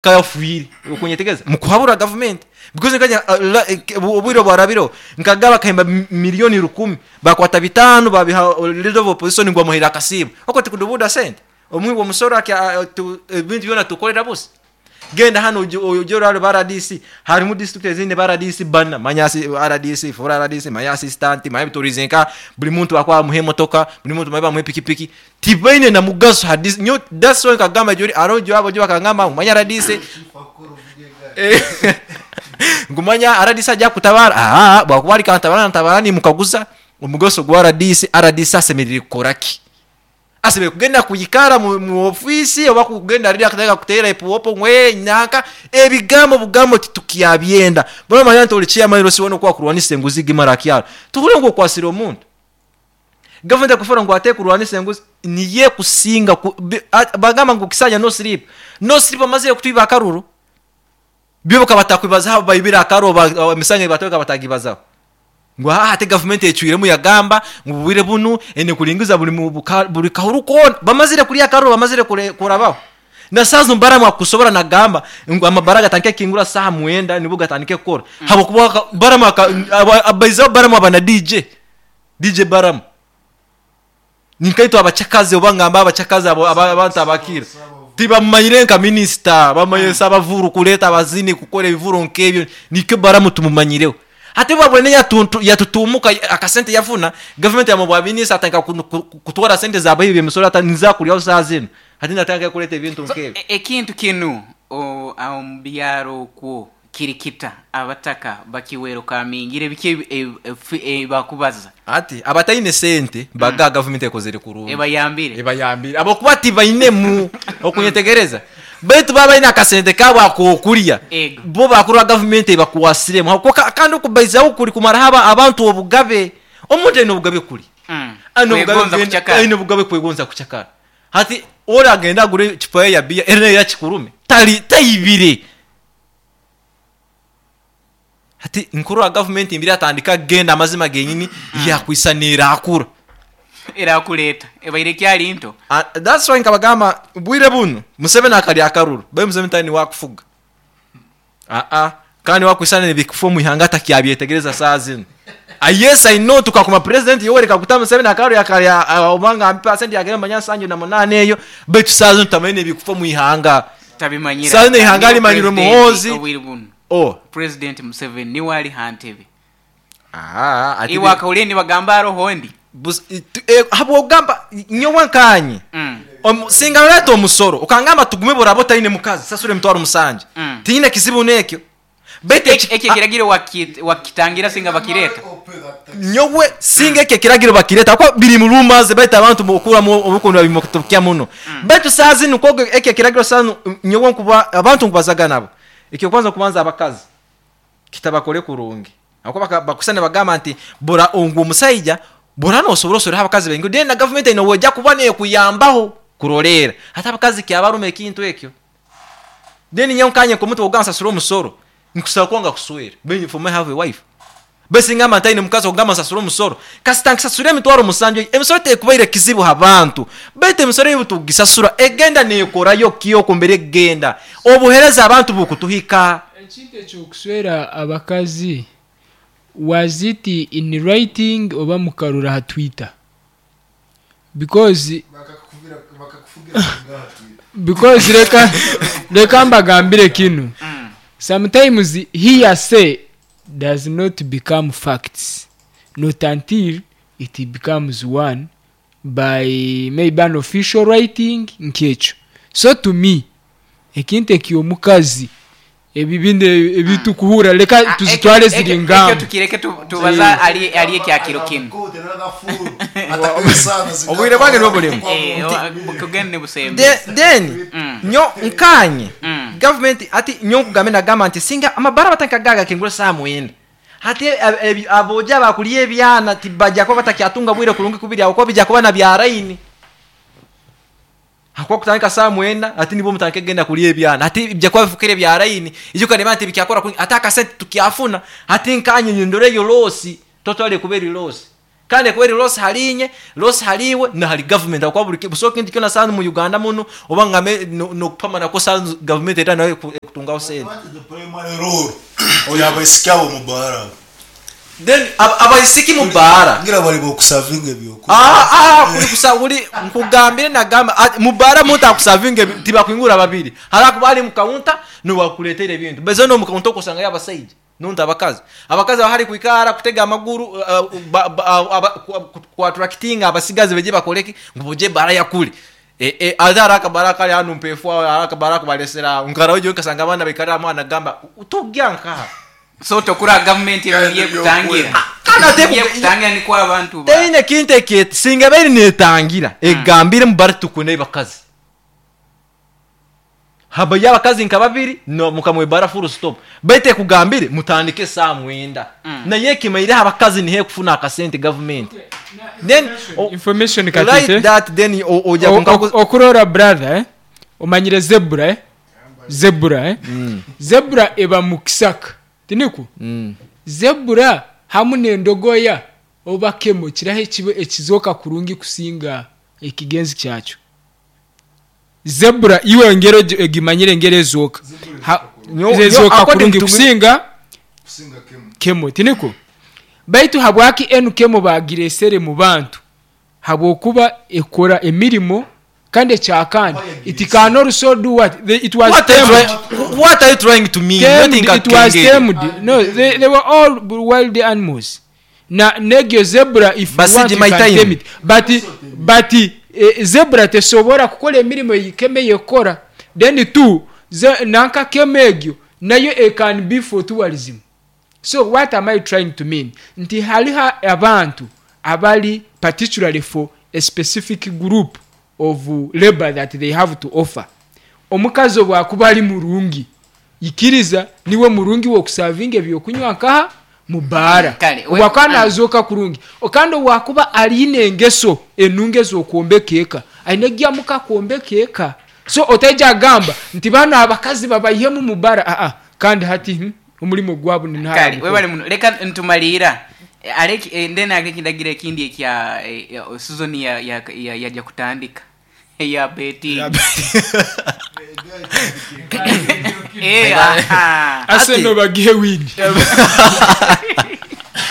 Kafiire okunyetegereza mukuhabura gavumenti because nkanya obwire obwarabireho nkagaba akahemba milioni rukumi bakwata bitano babiha leader of opposition ngu bamuhaire akasiimo okwo tikudubuda sente omuhi womusoro ebintu byona tukorera busa genda hanu ogye orare ba rdc harimu district ezindi ba rdc bana manya rdc full rdc manya assistant manya biturize nka buri muntu bakuba bamuha emotoka buri muntu bamuha epikipiki Tibaine na mugaso ha DC nyowe that's why nkagamba gyori hariho gyo abagyo bakangamba ngu manya RDC ngu manya RDC agya kukutabara ahaa bwakuba ari kantabara nantabara nimukaguza omugaso gwa RDC, RDC asemerire kukora ki? Asemerire kugenda kwikara mu ofiisi oba kugenda riri akatandika kuteera epuopo ngu ee nanka ebigambo bugambo titukyabyenda. Mbwenu omanya nti ori chairman osiibwe n'oku wakurwanisa enguzi gimara aha kyaro tohurira ngu okwasire omuntu. Gavumenti ekufora ngu ate ekurwanisa enguzi niyo ekusinga ku bi a bagamba ngu kisanja no sleep, no sleep bamazire kutwiba akaruru, byo bakaba batakwibazaho abu baibire akaruru ba emisango ei batwire bakaba batagibazaho. Ngu haa hati gavumenti ecwiremu yagamba ngu obwire bunu eine kuringiza buri mu buka buri kahuru koona, bamazire kurya akaruru bamazire kure kurabaho. Na saaha zinu Balaam akusobora nagamba ngu amabara gatandike kukingura saaha mwenda nibwo gatandike kukora habwokuba aka Balaam aka aba abaizeho Balaam aba na DJ. DJ Balaam Ninkaitwe abacakazi oba ngambe abacakazi abo abantu abakira tibamumanyire nka minisita bamumanyire sabavuru kureta abazini kukora ebivuro nkebyo nikyo Balaam tumumanyireho. Hati obu abwene yatutumuka akasente yafuna gavumenti yamuha obwa minisita atandika kutwara sente za bahibi bemisoro ati niza kuryaho saha zinu hati natandika kureta ebintu nkebyo. Ekintu kinu omu byaro okwo Kiri kita abataka bakiwerukamingire biki ebibakubaza? Hati abataine sente baga gavumenti ekozire kurungi. Ebayambire. Ebayambire habwokuba tibainemu okunyetegereza. Baitu baba baine akasente kaabo ak'okurya bo bakurora gavumenti ebakwasiremu habwokuba kandi okubaizaho kuri kumaraho abantu obugabe. Omuntu aine obugabe kuri. Aine obugabe kwegonza kucakara. Hati ori agende agure ecupa ye ya biya eri nayo yakikurume tari taibire. Hati nkurora gavumenti mbire yatandika kugenda amazima genyini yakwisa nerakura. Erakura eta? Ebaire ekyari nto. That's why nkabagamba obwire bunu Museveni akarya akaruru baitu Museveni tari niwe akufuga aa kandi niwe akwisana nebikufa omwihanga atakyabyetegyereza saaha zinu. Yes I know tukakoma president Yoweri Kaguta Museveni akaruru yakarya oba ngambe percent yagenda manya nsanju na munana eyo baitu saaha zinu tamanya nebikufa omwihanga. Tabimanyire Saaha zinu ata eihanga niwe rimanyirwe president Muhoozi obwire bunu. Oh. President Museveni niwe ari ha ntebe. Ahaa ati Iwe akahurira nibagamba haroho ondi? Bus habw'okugamba nyowe nkaanye singa noreeta omusoro okangamba tugume boraba otaine mukazi sasura emitwaro musanju tinyine kizibu n'ekyo baitu Ekyo ekiragiro wakitangira singa bakireeta? Nyowe singa ekyo ekiragiro bakireeta habwokuba biri mu rumors baitu abantu okuramu obuku nibabimutokya muno baitu saaha zinu kwonka ekyo ekiragiro saaha zinu nyowe nkuba abantu nkubazaga nabo eky'okubanza kubanza abakazi kitabakore kurungi Ahabw'okuba bakushusha nibagamba nti, Bura ogu omusaija, bura nosobora oswereho abakazi baingi, then na gavumenti eine obu eja kuba nekuyambaho kuroreera. Hati abakazi kyabaruma ekintu ekyo. Then nyowe nkanye nk'omuntu ow'okugamba nsasure omusoro, nkusobora kwanga kuswera, then for me have a wife. Baitu singamba ntaine mukazi okugamba nsasure omusoro, kasita nkisasura emitwaro musanju, emisoro tekubaire kizibu ha bantu, baitu emisoro ei obutukugisasura egenda nekorayo ki okwo mbere ekugenda? Obuhereza abantu bukutuhika. Ekintu eky'okuswera abakazi was it in writing oba mukarora aha twitter? Because because reka reka mbagambire kinu sometimes hearsay does not become facts not until it becomes one by maybe an official writing nk'ekyo so to me Ekintu eky'omukazi ebi binu ebi tukuhurra leka Ah, tuzitware ekyo ziri ekyo ngambo. tukireke tubaze ahari ahari ekya kiro kinu. Obwire bwange nibwo burimu. Eh, Nti kugenda nibusembe. then nyo nkanye gavumenti hati nyo nkugambe nagamba nti singa amabara batandika gaga kingura saaha mwenda hati aboojo abakurya ebyana tibajya kuba batakyatunga bwire kurungi kubirya ahabwokuba bija kuba na bya layini. Ahakuba kutandika saaha mwenda hati nibwo mutandike kugenda kurya ebyana. Hati bija kuba bifukire bya layini. Ijuka reeba nti bikyakora kurungi hati akasente tukyafuna. Hati nkanye nindora eyo loss totally ekuba eri loss. Kandi ekuba eri loss hali inye, loss hali iwe na hali government ahabw'okuba buri busaho kintu kyona saaha mu Uganda munu oba ngambe n'okupama nakwo saaha government era nayo ekutungaho sente. What is the primary role y'abaisiki abo omu baara abo? Then abaisiki mu baara. Ngira bari b'okusavinga ebyokurya. Aa kuri kusa buri nkugambire nagamba mu baara omuntu akusavinga tibakwingura babiri hariho akuba ari mu counter niwe akuretera ebintu baitu zoona omu counter okwo osangayo abasaija. Nontu abakazi. Abakazi aba hali kwikara, kutega amaguru, ku attractinga abasigazi baije bakore ki? Ngu baije ebara yakuri. Ate hariho akabara akari hanu Mpeefu aho, hariho akabara aku baresire aho. Nkaraho nyowe nkasanga abaana baikarire aho nagamba, togya nkaha? So tokura gavumenti eri ekutangira. Kandi ate Eri ekutangira nikwo abantu ba. Teine kintu eki, singa ebaire netangira, egambire ngu bari tukune bakazi. Habayo abakazi nka babiri no mukama w'ebara full stop. Baitu ekugambire mutandike esaaha mwenda. Naye ekimaireho abakazi niho ekufuna akasente gavumenti. Then Information like katete. that then oja kunkaguza. Okurora brother eh, omanyire zebra eh, zebra eh, zebra eba mu kisaka tinikwo? Zebra hamu n'endogoya oba kemo kiraha ekizooka kurungi kusinga ekigenzi kyakyo? Zebra iwe engeri ogimanyire engeri ezooka. Ezooka According kurungi to me- kusinga kemo, tinikwo? Baitu habwaki enu kemo bagiresere mu bantu? Habwokuba ekora emirimo kandi ekyakandi it can also do what? They, it was What are you tamed. what are you trying to mean? Tamed, Nothing it was akengere. tamed. No, they were all wild animals. Na negyo zebra if you Basigi want you my can time. tame it. But but zebra tesobora kukora emirimo ei keme yekora. Then two, ze, nanka keme egyo nayo it can be for tourism. So what am I trying to mean? Nti hariho abantu abari particularly for a specific group of labor that they have to offer. Omukazi obu akuba ari murungi, ikiriza niwe murungi w'okusavinga ebyokunywa nkaha mu baara. Kale, Obu akuba nazooka kurungi. Kandi obu akuba aine engeso enungi ez'okwombeka eka, aine gyamuka kwombeka eka. So otaija agamba nti banu abakazi babaihemu mu baara, aa, kandi hati omurimo gwabo ni nahara Kale, mukuru. webale muno. Leka ntumaliira. Aleki, then aleki ndagira ekindi ekya season ya, ya, ya, yaja kutandika. Ya betting. Aha. Arsenal bagihe win.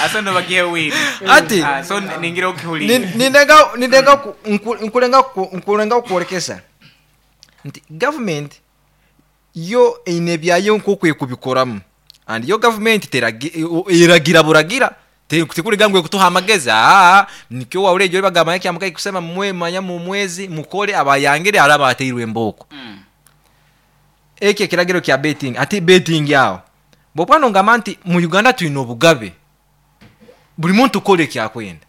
Arsenal bagihe win. Ati So ningira okihulira. Nindenga nkulenga kworekesa nti government yo eine ebyayo nk'oku ekubikoramu. And yo government eragira buragira. Tikuriga ngu ekutuha amagezi. Nikyo wahurira egyo bagamba nka kyamuka kusema mwe manya mu mwezi mukore abayangire hari abateirwe embooko. Ekyo ekiragiro kya betting, ati betting aho. Bw'okuba nongamba nti mu Uganda twine obugabe. Buri muntu ukora ekyakwenda.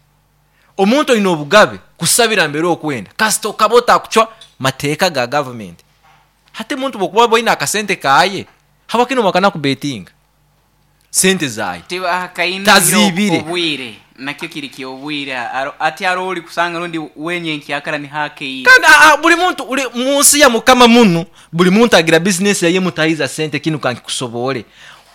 Omuntu oine obugabe kusabira mbere okwenda. Kasita okaba otakucwa mateeka ga government. Hati omuntu bw'okuba oine akasente kaye, habwaki nomwakana kubetinga? Sente zaye. Tiba kaina Tazibire. obwire. Nakyo kiri kyobwire. Ati aro ori kusanga rundi wenye nkyakara ni hake iyi. Kandi buri muntu uri munsi ya mukama munu, buri muntu agira business yaye mutahiza sente kinu kankikusobore.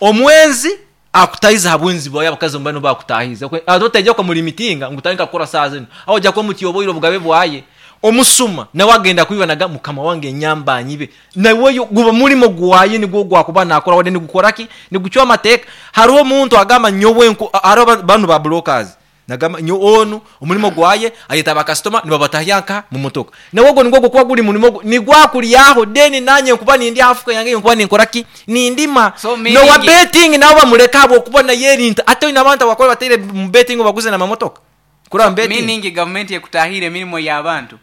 Omwenzi akutahiza habwenzi bwawe abakazi mbano bakutahiza. Atotajya kwa muri mitinga ngo utandika gukora saa zino. Aho ujya kwa mutiyoboyiro bugabe bwaye. Omusuma nawe agenda kwibanaga mukama wange nyambanyi be. Nawe yo guba murimo gwaye nigwo gwakuba nakora wade nigukora ki? Nigucwa amateka. Hariho omuntu agamba nyowe nko hariho banu ba brokers. Nagamba nyo onu omurimo gwaye ayeta ba customer nibabatahyanka mu motoka. Nawe ogwo nigwo gukuba guri murimo nigwakuryaho deni nanye nkuba nindi Africa yange nkuba ninkora ki? Nindima. So No meaning wa betting nawe bamureka abo kuba na yerinta. Ate ina abantu bakora batere mu betting baguze na mamotoka. Kuri betting. Meaning government ekutahira emirimo y'abantu.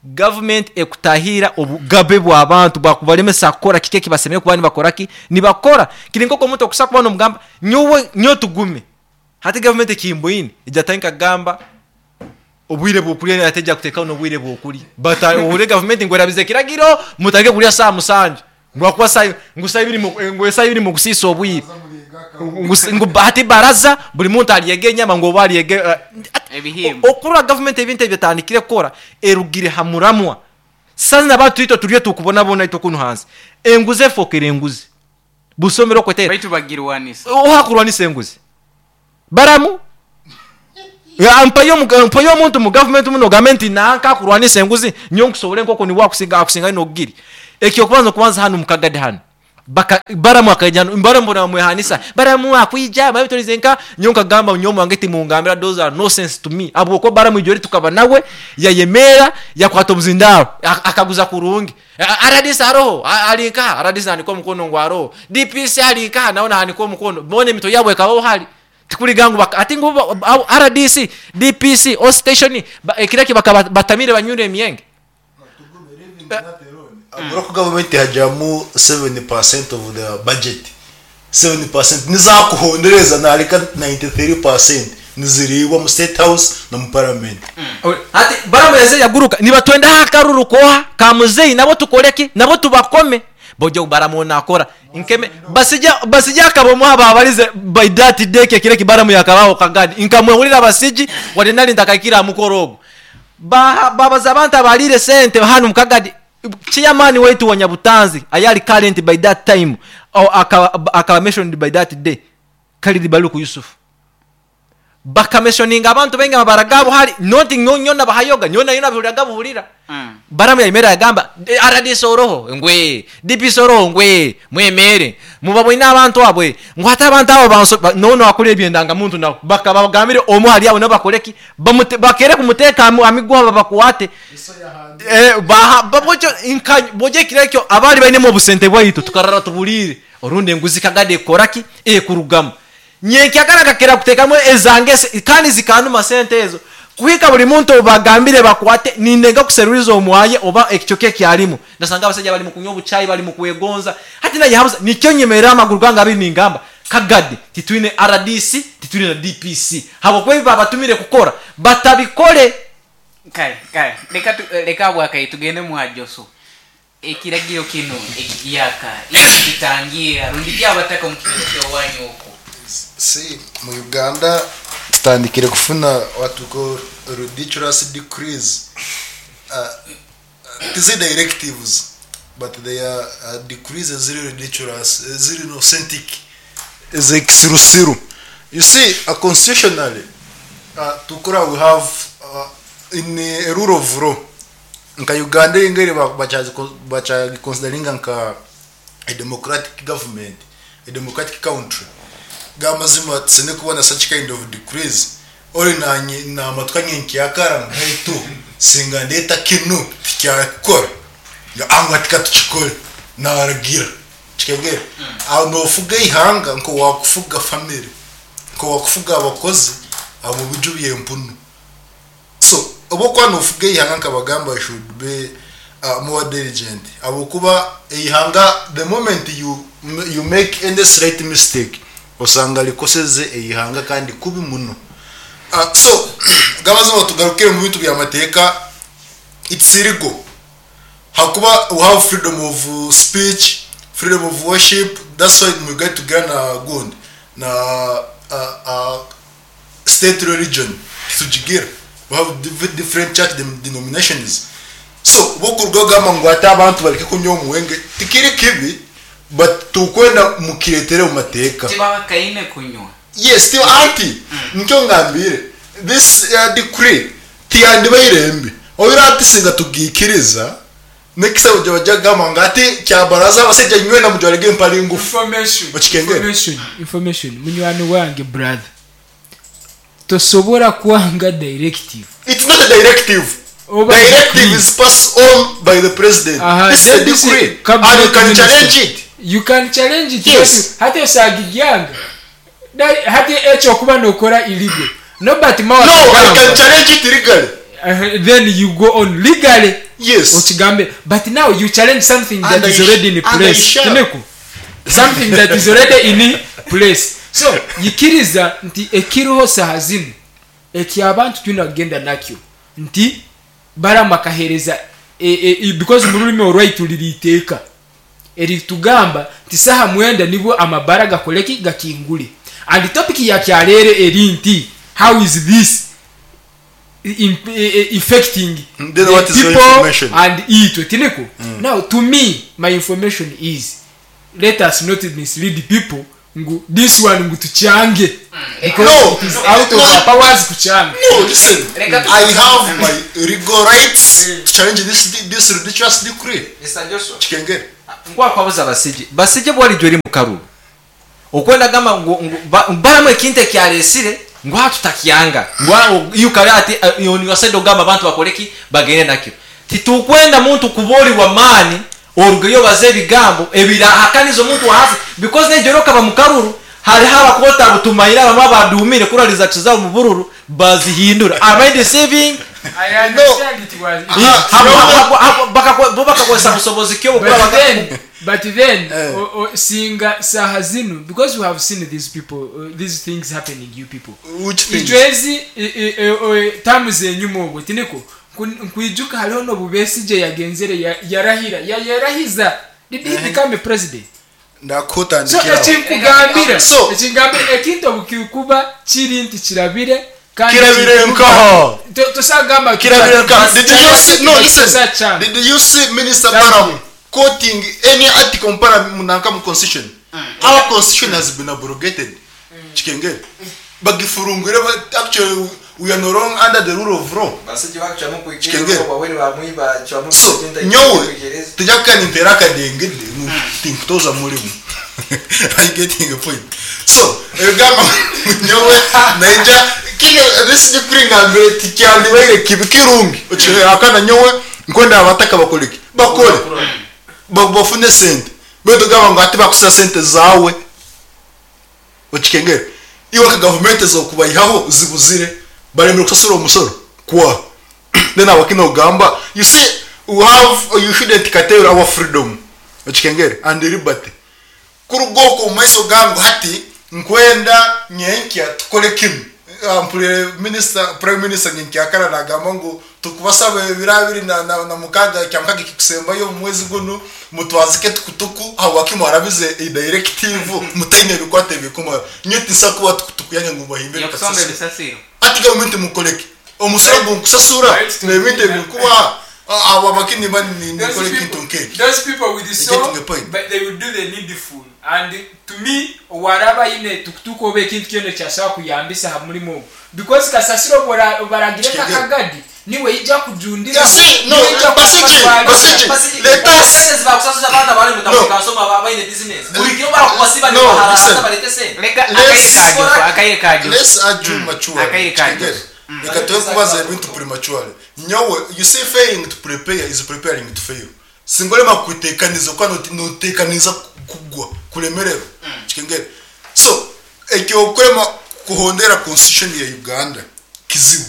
Government ekutahira obugabe bw'abantu bwakubalemesa kukora kike kibasemeye kuba nibakora ki? Nibakora. Kiri nk'oku omuntu okusa kuba nomugamba nyowe nyo tugume. Hati government ekimboine ejja kagamba obwire bw'okulya ate ejja kuteekaho n'obwire bw'okulya. But ohure government ngu erabize ekiragiro mutandike kulya saa 7. Ngu akuba saa, ngu saa ibiri mu, ngu saa ibiri mu kusiisa obwire. Ngu ngu hati baraza buri muntu aryege enyama ngu oba aryege, Ebihimba. Okurora government ebintu ebyatandikire kukora erugire ha muramwa. Sasa n'abantu itwe turiyo tukubonabona itwe kunu hansi. Enguzi efokere enguzi. Busomero kwetera. Baitu bagirwanisa. Oha kurwanisa enguzi. Baramu. Mpayo mpayo omuntu mu gavumenti muno ogambe nti nanka akurwanisa enguzi nyowe nkusobore nk'oku niwe akusinga akusingayo n'obugiri. Eky'okubanza okubanza hanu mu Kagadi hanu baka Baramu akaija hanu Baramu boona bamwehanisa Baramu akwija babitorize nka nyowe nkagamba nyowe omwange timungambira those are no sense to me ahabw'okuba Baramu ijweri tukaba nawe yayemeera yakwata obuzindaaro akaguza kurungi. Rdc aroho? Ari nkaha? Rdc nahanika omukono ngu aroho. DPC ari nkaha? Nawe nahanika omukono. Boona emitwe yaabo ekabaho hari. Tikuriga ngu hati ngu rdc, DPC, OC station ekiro ekyo bakaba batamiire banywire emyenge. Ahabw'oku gavumenti ehagiramu 7% of the budget, 7% nizakuhondereza nareka 93% niziriibwa omu state house n'omu parliament. Hati Balamu yaza yaguruka nibatwenda aha akaruru koha ka muzeyi nabo tukore ki? Nabo tubakome. Bojo Balamu onu akora nkeme basija basija akaba omu aha baabarize by that day ekyo ekiro eki Balamu yakabaho Kagadi nkamwehurira abasiji wadde nari ntakahikire aha mukoro ogwo. Baaha baabaza abantu abaariire sente hanu omu Kagadi chairman waitu wa Nyabutanzi ayari current by that time akaba akaba mentioned by that day Khalid Baluku Yusuf. Bakameshoninga abantu baingi amabara gaabo hari not nyowe nyowe nabahayoga nyowe nayo nabihuriraga buhurira. Balamu yayemerera yagamba rdc oroho? Ngu ee. DPC oroho? Ngu ee. Mwemeere mubaboine abantu abo ee. Ngu hati abantu abo banso n'onu akora eby'endangamuntu nawe bakaba bagambire omu ahari abo nabo bakore ki? Bamute bakere kumuteeka aha miguha babakwate. Baha bwokyo nka bwokyo ekiro ekyo abaari bainemu obusente bwaitu tukarara tuburiire orundi enguzi kagada ekukora ki? Ekurugamu. Nyenkyakara nkakira kuteekamu ezange kandi zikanduma sente ezo kuhika buri muntu ou bagambire bakwate nindenga kuseruriza omwaye oba ekicweka eki arimu. Ndasanga abasaija bari mukunywa obuchayi bari mukwegonza hati nayehabuza nikyo nyemerera amaguru gange abiri ningamba Kagadi titwine rdc titwine na DPC habwokuba ebi babatumire kukora batabikore. Kare kare reka tu reka habwakayi tugende mwa Joso. Ekiragiro kinu ekihyaka itwe tukitangiira rundi ki abataka omu kitebe ky'owanyu oku? See, mu Uganda tutandikire kufuna what we call ridiculous decrees. Tizi directives but they are decrees eziri ridiculous, eziri authentic, ez'ekisirusiru. You see, constitutionally, tukura we have in a rule of law, Nka Uganda eyingaire bakyagiconsideringa nka a democratic government, a democratic country, gamazima tusine kubona such kind of decrees ori nanye namatuka nyenkyakara ngu haitu singa ndeta kinu tikyakukora ngu hati katukikore naragira kikegere aho nofuga eihanga nkowakufuga family nkowakufuga abakozi omu biju byempunu. So obu okuba nofuga eihanga nkabagamba you should be more diligent ahabwokuba eihanga the moment you you make any slight mistake osanga rikoseze eihanga kandi kubi muno. So gamazima tugarukire omu bintu byamateeka it's illegal ahakuba we have freedom of speech, freedom of worship that's why omu Uganda tugira na gundi na State religion titugigira we have different church denominations so bo kuruga kugamba ngu hati abantu bareke kunywa omwenge tikiri kibi but tukwenda mukiretere omu mateeka. Tibabakaine kunywa. Yes ti anti nikyo ngambire this decree tiyandibaire mbi oire hati singa tugiikiriza next time baija kugamba ngu hati kyabaraza abasaija nywena mujwarege empare ngufu Information, okikengere. information, information munywani wange brother tosobora kwanga directive. It's not a directive. Oba Directive decree. is passed on by the president. Aha, This is a then this is decree. And cabinet you can minister. challenge it. You can challenge it. Yes. Hati osagigyanga. Hati ekyo okuba nokora illegal. Nobert Mao No, I akagamba. can challenge it legally. Then you go on legally. Yes. Okigambe. But now you challenge something that And is I already in and I place. shall. Tineku. Something that is already in place. So, yikiriza nti ekiriho saha zinu eki abantu twine kugenda nakyo nti Balamu akahereza e, e, e, because mu rurimi orwaitu riri iteeka eritugamba nti saha mwenda nibwo amabara gakoreki gakingure and topic ya kyarero eri nti how is this effecting Then the what is your people information? and itwe tiniko. Now to me my information is let us not mislead people. ngu this one ngu tukyange because No, it is out of no. our powers kukyanga. No, listen. Reka- I have my legal rights to challenge this ridiculous decree. Kikengere. Nkwakwabuza Basije, Basije bwalijjo eri mukaruru okwenda gamba ngu baramu ekintu ekyaresire ngu aha tutakyanga ngu yukare ati yoniwasaide ogamba abantu bakoreki bagende nakyo. Titukwenda muntu kuborirwa maani orugeyo baze ebigambo ebirahakaniza omuntu wahasi because nejoro kaba mukaruru hariho abakota butumayira abamwe abadumire kurariza tuzabo mu bururu bazihindura. Am I deceiving? I understand it was Ah, Bo bakakozesa busobozi ki obukora But then, but then Eh. singa saha zinu, because we have seen these people, these things happening, you people. Which things? Ijwezi tamu enyuma obwo tiniko nkwijuka hariho n'obu Besigye yagenzere yarahira yarahiza. Did he become a president? So Ndakutandikiraho. ekinkugambira, So- ekingambira ekintu obukikuba kiri nti kirabire kandi Kirabire kikuba- nkaho. Tosagamba Kirabire nkaho. Did you see? No, listen. Tusakyanga. Did you see Minister Thank Balaam you. quoting any article munanka mu constitution? Our constitution has been abrogated. Kikengere. Bagifurungire, but actually we are no longer under the rule of law. Kikengere. So nyowe tujya kanintera akadengede tinkutoza mulimu. Are you getting a point? So ebigamba nyowe naija kino this decree ngambire tikyandibaire kibi kirungi. Okikengere akana nyowe nkwenda abataka bakoleki bakole bafune sente betu gamba ngo ati bakusa sente zawe. Okikengere iwe ka gavumenti zokubayihaho zibuzire baremera kusasura omusoro kwa then abakino gamba, you see, we have, you shouldn't curtail our freedom. Okikengere and liberty kurugoko mu maiso gangu hati nkwenda nyenkya tukole kinu. Mpulire minister, prime minister nyenkya akara nagamba ngu tukubasaba ebiro abiri na mukaga kya mukaga kikusembayo mu mwezi guno mutwazike tukutuku aho wakimu arabize a directive mutaine bikwate bikuma nyeti nsakuba tukutuku yange ngu bahimbe Yakusomba bikasasira. ebisasiro. Ati gavumenti mukoleke omusoro gunkusasura Right. n'ebintu ebikuba abo abakini bani Those nikole people- kintu nkeki. Those people with the You're soul, getting the point. but they will do the needful. And to me, waraba yine tukutuku oba ekintu kyona ekyasobola kuyambisa ha mulimu ogwo, because kasasiro baragire Kigere. kakagadi niwe ijja kujundira. You see, no, niwe ijja Basije, kubatwalira. Basije, let us bakusasuza abaana bali No. mutakasoma baine business buli kiro barakuba No, listen. balete sente. Reka Let's- akaire ka Joshua, akaire ka Joshua. Let's argue maturely. Akaire ka Kigere. Joshua. Reka tube kubaza ebintu prematurely. Nyowe, you see, failing to prepare is preparing to fail. Singolema kutekaniza kuba notekaniza kugwa kulemererwa. Kikengere. So ekyokulema kuhondera constitution ya Uganda kizibu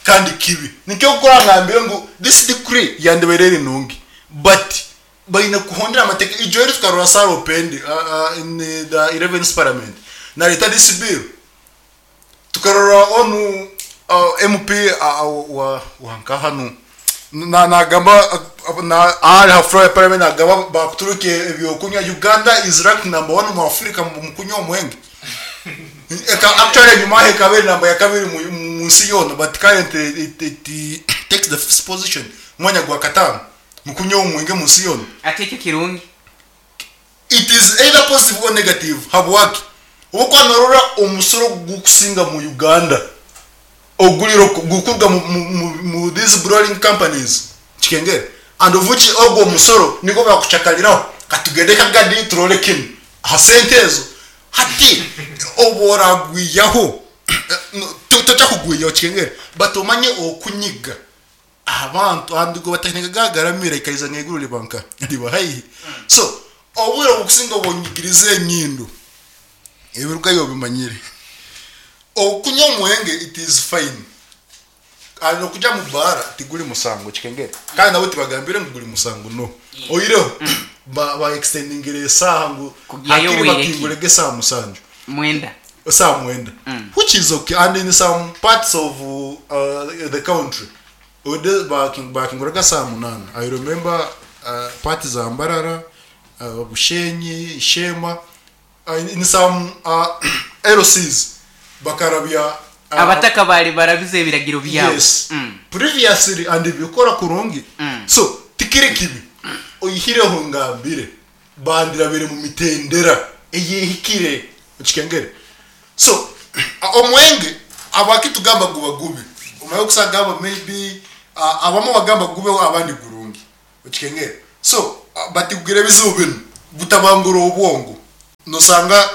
kandi kibi. Nikyo kukora ngambire ngu this decree yandibaire nungi, but baine kuhondera amateeka. Ijo eri tukarora Sarah Opendi in the 11th parliament naleta this bill, tukarora onu MP wa wanka hanu na nagamba na ali hafro ya parliament nagamba bakuturuke ebyokunywa. Uganda is ranked number 1 mu Africa mu kunywa omwenge. Eka actually nyuma he kabiri namba ya kabiri mu nsi yona, but currently it takes the first position, mwanya gwa katano mu kunywa omwenge mu nsi yona. Ate ekyo kirungi. It is either positive or negative. Habwaki obukwanorora omusoro gukusinga mu Uganda oguliro gukurwa mu these brewing companies. Kikengere. And of which ogwo omusoro niko bakuchakaliraho katugende kagadi turole kinu ha sente ezo hati oboragwiyaho totakugwiyaho. Kikengere. But omanye okunyiga abantu andigo batekinga gagaramira ikariza ngeguru libanka liba haihi. So obwire obukusinga obonyigiriza enyindo ebirukayo bimanyire okunywa omwenge, it is fine. And okuja mu bara tiguli musango. Kikengere. Kandi nabo tibagambire ngu guli musango, no oyireho ba extendingire esaha ngu Kugiyayo hakiri bwire ki? bakingurege esaha 7. 9. Esaha 9, which is okay. And in some parts of the country ode bakinguraga saa 8. I remember parts za Mbarara, Bushenyi, Shema, in some LCs bakarabya Abataka bali barabize ebiragiro byabo. Yes. Previously and bikora kurungi. So tikiri kibi oyihireho ngambire bandirabire mu mitendera eyehikire. Okikengere? So omwenge habwaki tugamba guba gubi? Omanye okusa gamba maybe abamu bagamba gubeho abandi gurungi. Okikengere? So but gugira ebizibu binu, gutabangura obwongo. Nosanga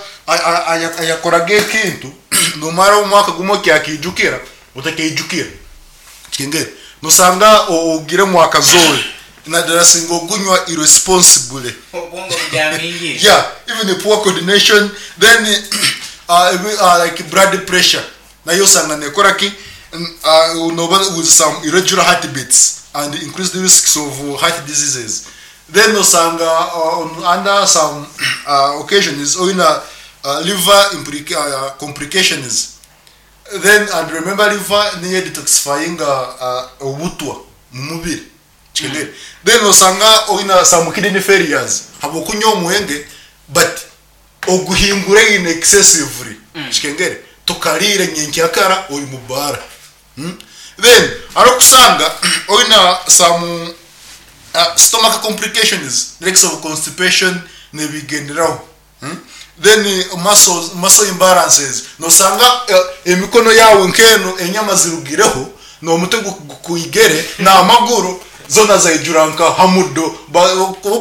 ayakoraga ekintu nomara omwaka gumwe okyakiijukira, otakeijukira. Okikengere? Nosanga ogire mwakazoe nadala singa ogunywa irresponsibly. Obwongo bujamingi. Yeah, even the poor coordination, then like blood pressure nayo osanga nekora ki? Noba with some irregular heartbeats and increased risks of heart diseases. Then osanga on under some occasions oina liver complications. Then and remember liver niyo detoxifying obutwa mu mubiri. Kikengere. Then osanga oina some kidney failures habwokunywa omwenge but oguhingura in excessively. Kikengere. Tukarire nyenkyakara ori mu bara. Then arokusanga oina some stomach complications like of constipation nebigenderaho. Then muscle imbalances, nosanga emikono yawe nkeno enyama zirugireho n'omutwe gukuigere n'amaguru zona zaijura nka hamudo.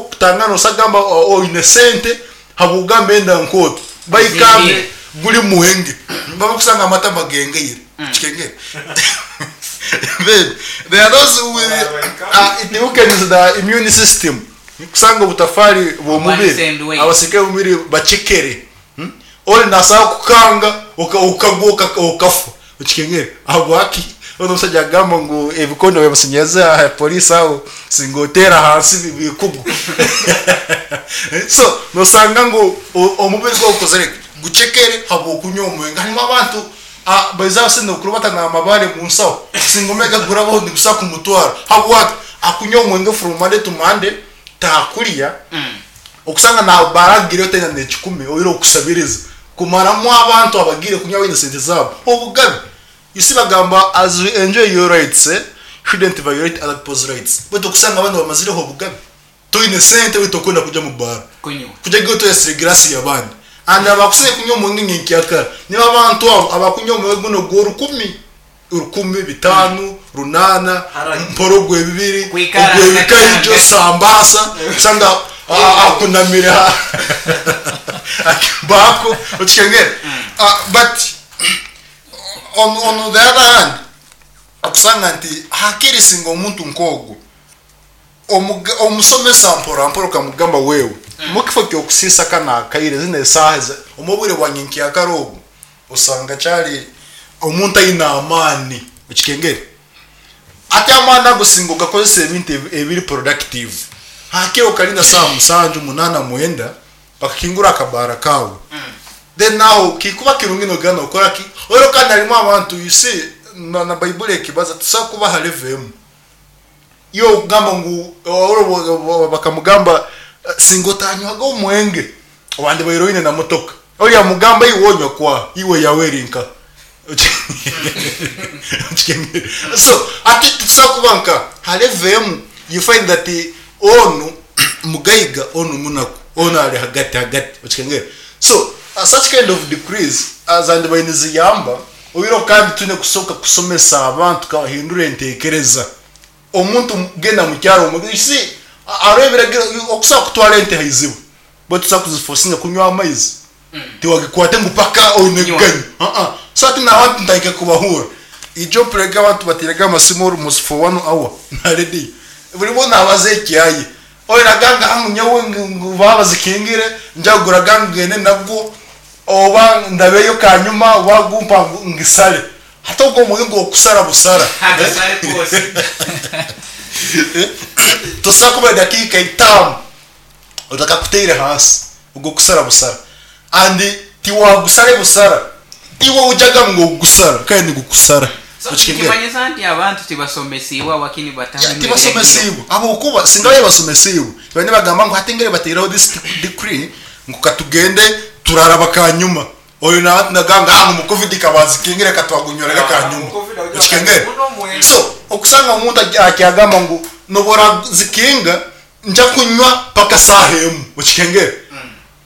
Kutanga nosagamba oine sente habugamba enda nkoto baikambe guri muhenge baba kusanga amata magengeire. Kikengere. Then there are those with it weakens the immune system. Kusanga obutafari bw'omubiri abasirikare b'omubiri bacekere. Ori nasaba kukanga ukagwa ukafa. Okikengere. Habwaki? Ono omusajja agamba ngu ebikondo byamusinyaza polisi aho singotera hansi bikugu. So nosanga ngu omubiri gwawe gukozere gucekere habwokunywa omwenge. Harimu abantu baiza basenda okurubata n'amabare mu nsaho singomega gurabaho nigusa kumutwara. Habwaki? Akunywa omwenge from Monday to Monday takurya. Okusanga na baragire tena n'ekikumi oire okusabiriza kumaramu abantu abagire kunywa baine sente zabo obugabe. You see bagamba as you enjoy your rights, shouldn't violate other people's rights. But okusanga abana bamazireho obugabe toine sente wito okunda kuja mu bar kunywa kuja gyo toyesire grasi y'abandi. And abakuseye kunywa omwenge nyenkyakara niba abantu abo abakunywa omwenge guno gw'orukumi rukumi bitanu runana mporogwe bibiri Kwikara ogwe bikaijo hagati. sambasa kusanga akunamira akibako okikengere. But on the other hand okusanga nti hakiri singa omuntu nk'ogwo omusomesa mpora mpora okamugamba wewe mukifo kyokusisa kana akaire zino esaaha omubwire bwa nyenkyakara ogwo osanga kyali omuntu aine amaani. Okikengere. Ate amaani ago singa ogakozesa ebintu ebiri productive. Hakiri okarinda saaha 7 8 9 bakakingura akabara kawe. Then now kikuba kirungi nogana okora ki? Oro kandi harimu abantu you see na Bible ekibaza tusa kuba halevemu. Yo kugamba ngu oro bakamugamba singotanywaga omwenge abandi bairoine na motoka. Ori amugamba iwonywa kwa iwe yawerinka. So ati tusa kuba nka halevemu you find that onu mugaiga onu munaku onu ali hagati hagati. Okikengere. So such kind of decrees as and bayiniziyamba oyiro kandi tune kusoka kusomesa abantu kabahindura entekereza. Omuntu genda mu kyaro you see arebera okusa kutwala ente haizibu but tusa kuziforcinga kunywa amaizi. Tiwagikwate ngu paka oine ganyo. So ati na abantu ndaika kubahura. Ijo prega abantu batirega amasimu almost for 1 hour. Na ready. Buri muntu abaze ekyayi. Oyo naganga hangu nyawe ngu babazikingire njagura gangene nabwo oba ndabeyo kanyuma wagumpa ngisale. Hata ubwo muhingo okusara busara. Agasare kose. Tosaka kuba dakika 5 utakakuteire hasi ubwo kusara busara. And tiwagusare busara. Iwe ujaga ngo gusara kandi gukusara. So, kimanyisa nti abantu tibasomesibwa wakini batahindura Tibasomesibwa. Abo kuba singaye basomesibwa. Bane bagamba ngo hatengere bateraho this decree ngo katugende turaraba kanyuma. Oyo na naganga mu covid kabazi kingire katwagunyorera kanyuma. Okikengere. So okusanga omuntu akyagamba ngu nobora zikinga nja kunywa paka saha emu. Okikengere.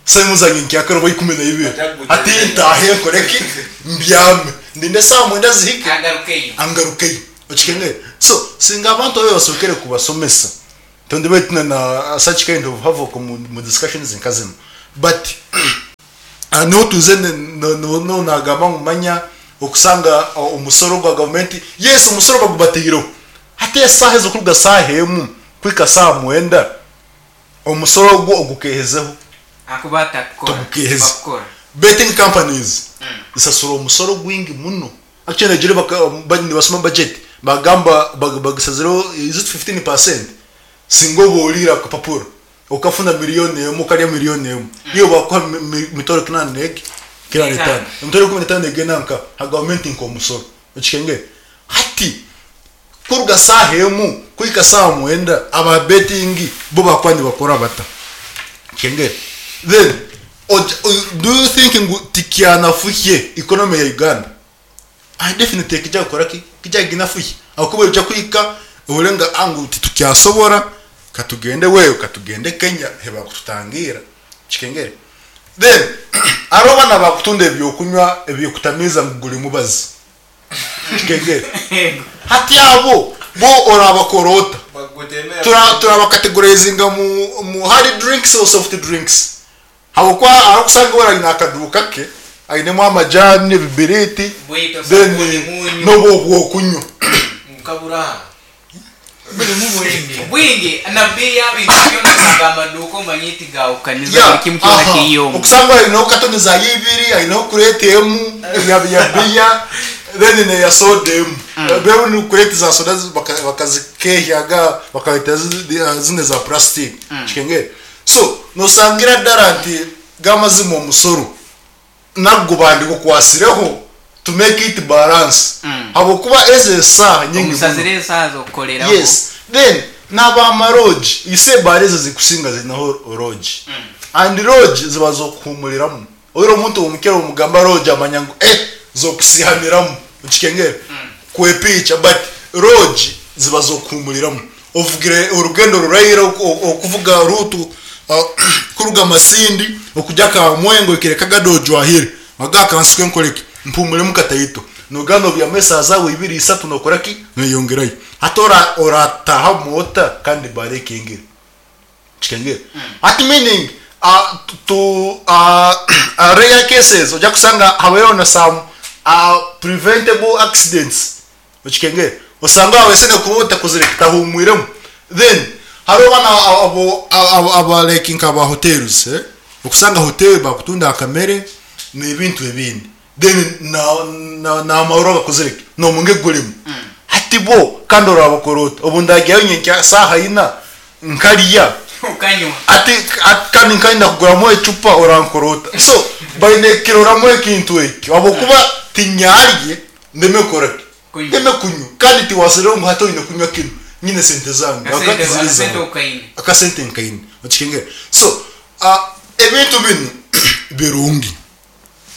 Saimu zangye nkyakare oba 12. Hati ntaahe nkore ki? Mbyame. Ndinde esaaha mwenda zihike Angarukeyo. angarukeyo. Okikengere? So, singa abantu abu basookere kubasomesa, tondibaire tine na such kind of havoc omu discussions nka zinu. But niho twize niho nagamba ngu manya okusanga omusoro gwa gavumenti, yes omusoro bagubateireho. Hati esaaha ezo kuruga saaha emu kuhika saaha mwenda, omusoro ogwo ogukeehezeho. Ahakuba atakukora. Togukeeheza. Tibakukora. Betting companies zisasura omusoro gwingi muno. Actually negire nibasoma budget bagamba bagisazireho is it 15% singa oba oriire akapapura okafuna miriyoni emwe okarya miriyoni emwe iwe bakuha mitwaro kinaana negi kinaana n'etaano emitwaro ikumi n'etaano negenda nka ha gavumenti nk'omusoro okikengere hati kuruga saaha emu kuhika saaha mwenda aba betting bo bakuba nibakora bata okikengere then do you think ngu tikyanafuhye economy ya Uganda I definitely kija kukora ki kija kuginafuhya ahakuba oija kuhika ohurire nga ah ngu titukyasobora katugende wewe katugende Kenya hebakututangiira kikengere then hariho banu abakutunda ebyokunywa ebikutamiiza ngu guri mubazi kikengere hati abo bo orabakora ota turabakategorizinga mu hard drinks or soft drinks Habw'okuba ahu orikusanga we aine akaduuka ke ainemu amajaani, ebibiriiti Bwito, then sabuuni, munyu. n'obu obw'okunywa. Nkabura. Burimu bwingi. Bwingi na bei y'ebintu byona osanga amaduuka omanye tigahukaniza buri Yeah, kimwe kyona aha. kiri omu. Okusanga aineho katoni za ibiri, aineho kureeti emu ya ya biya then n'eya soda emu. Mbwenu kureeti za soda bakazikeehyaga bakareeta zinu eza plastic. Kikengere? So nosangira ddara nti gamazima omusoro nagwo bandigukwasireho to make it balance habwokuba ezo esaaha nyingi muno. Omusazire esaaha z'okukoreraho. Yes then naba lodge you see ebaara ezo zikusinga zinaho lodge and lodge ziba zokuhumuriramu oire omuntu omukera omugamba lodge amanya ngu eh zokusihaniramu okikengere kwepiicha but lodge ziba zokuhumuriramu Ovugire orugendo ruraire okuvuga ruutu kuruga Masindi okugya Kamwenga ohikire Kagadi ojwahire wagamba kanshuke nkore ki mpumuremu kataito noga nobyama esaaha zaawe ibiri isatu nokora ki noyeyongerayo hati orataahamu ota kandi ebaara ekingire kikengire hati meaning to rare cases ojja kusanga habaireho na some preventable accidents Okikengere? Osanga wawesene kuba otakozire kitahumwiremu then hariho banu abo aba like nka ba hotels eh okusanga hotel bakutunda akamere nebintu ebindi then na na namarwa bakozire ki nomunge gurimu hati bo kandi orabakora ota obu ndagyayo nyenkya saaha ina nkarya Okanywa. Ati kandi nkayenda kuguramu ecupa orankora ota so baine kukiroramu ekintu ekyo habwokuba tinyarye ndeme kukora ki Kunywa. ndeme kunywa kandi tiwasereho ngu hati oine kunywa kinu nyine sente zange Akasente habwokuba tiziri akasente zange okaine. akasente nkaine okikengera so ebintu binu birungi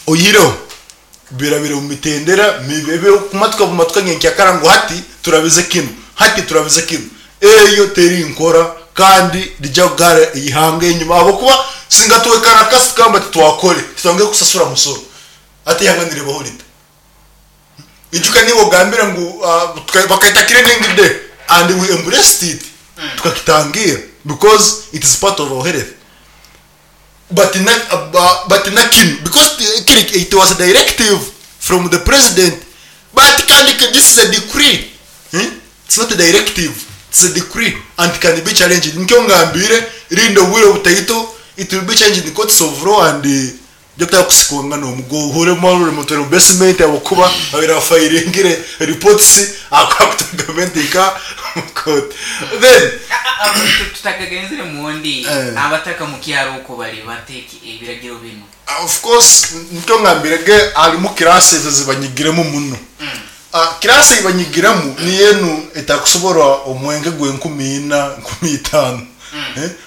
oyihireho birabire omu mitendera mibi ebirikumatuka bumatuka nyenkyakara ngu hati turabize kinu hati turabize kinu eyo teri nkora kandi rija kugara eihanga enyima ahabw'okuba singa twekarakasa tukagamba titwakore titwangire kusasura musoro hati eihanga niribaho rita ijuka niiwe ogambire ngu bakaita cleaning day and we embraced it tukakitangira because it is part of our health but na but na kinu because kiri it was a directive from the president but kandi this is a decree It's not a directive it's a decree and can be challenged nikyo ngambire rinda obwire butaito it will be challenged in courts of law and byokutaka kusikwa nomugo ohure mutwere mu basement ahabwokuba babaire bafayiringire reports ahakuta gavumenti nka omu court then Tutakagenzire mundi abataka mukyaro okwo bari bata ebiragiro binu. Of course nikyo ngambire ge harimu class ezo zibanyigiremu muno Class ei banyigiremu niyo enu etakusobora omwenge gw'enkumi ina, nkumi itaano.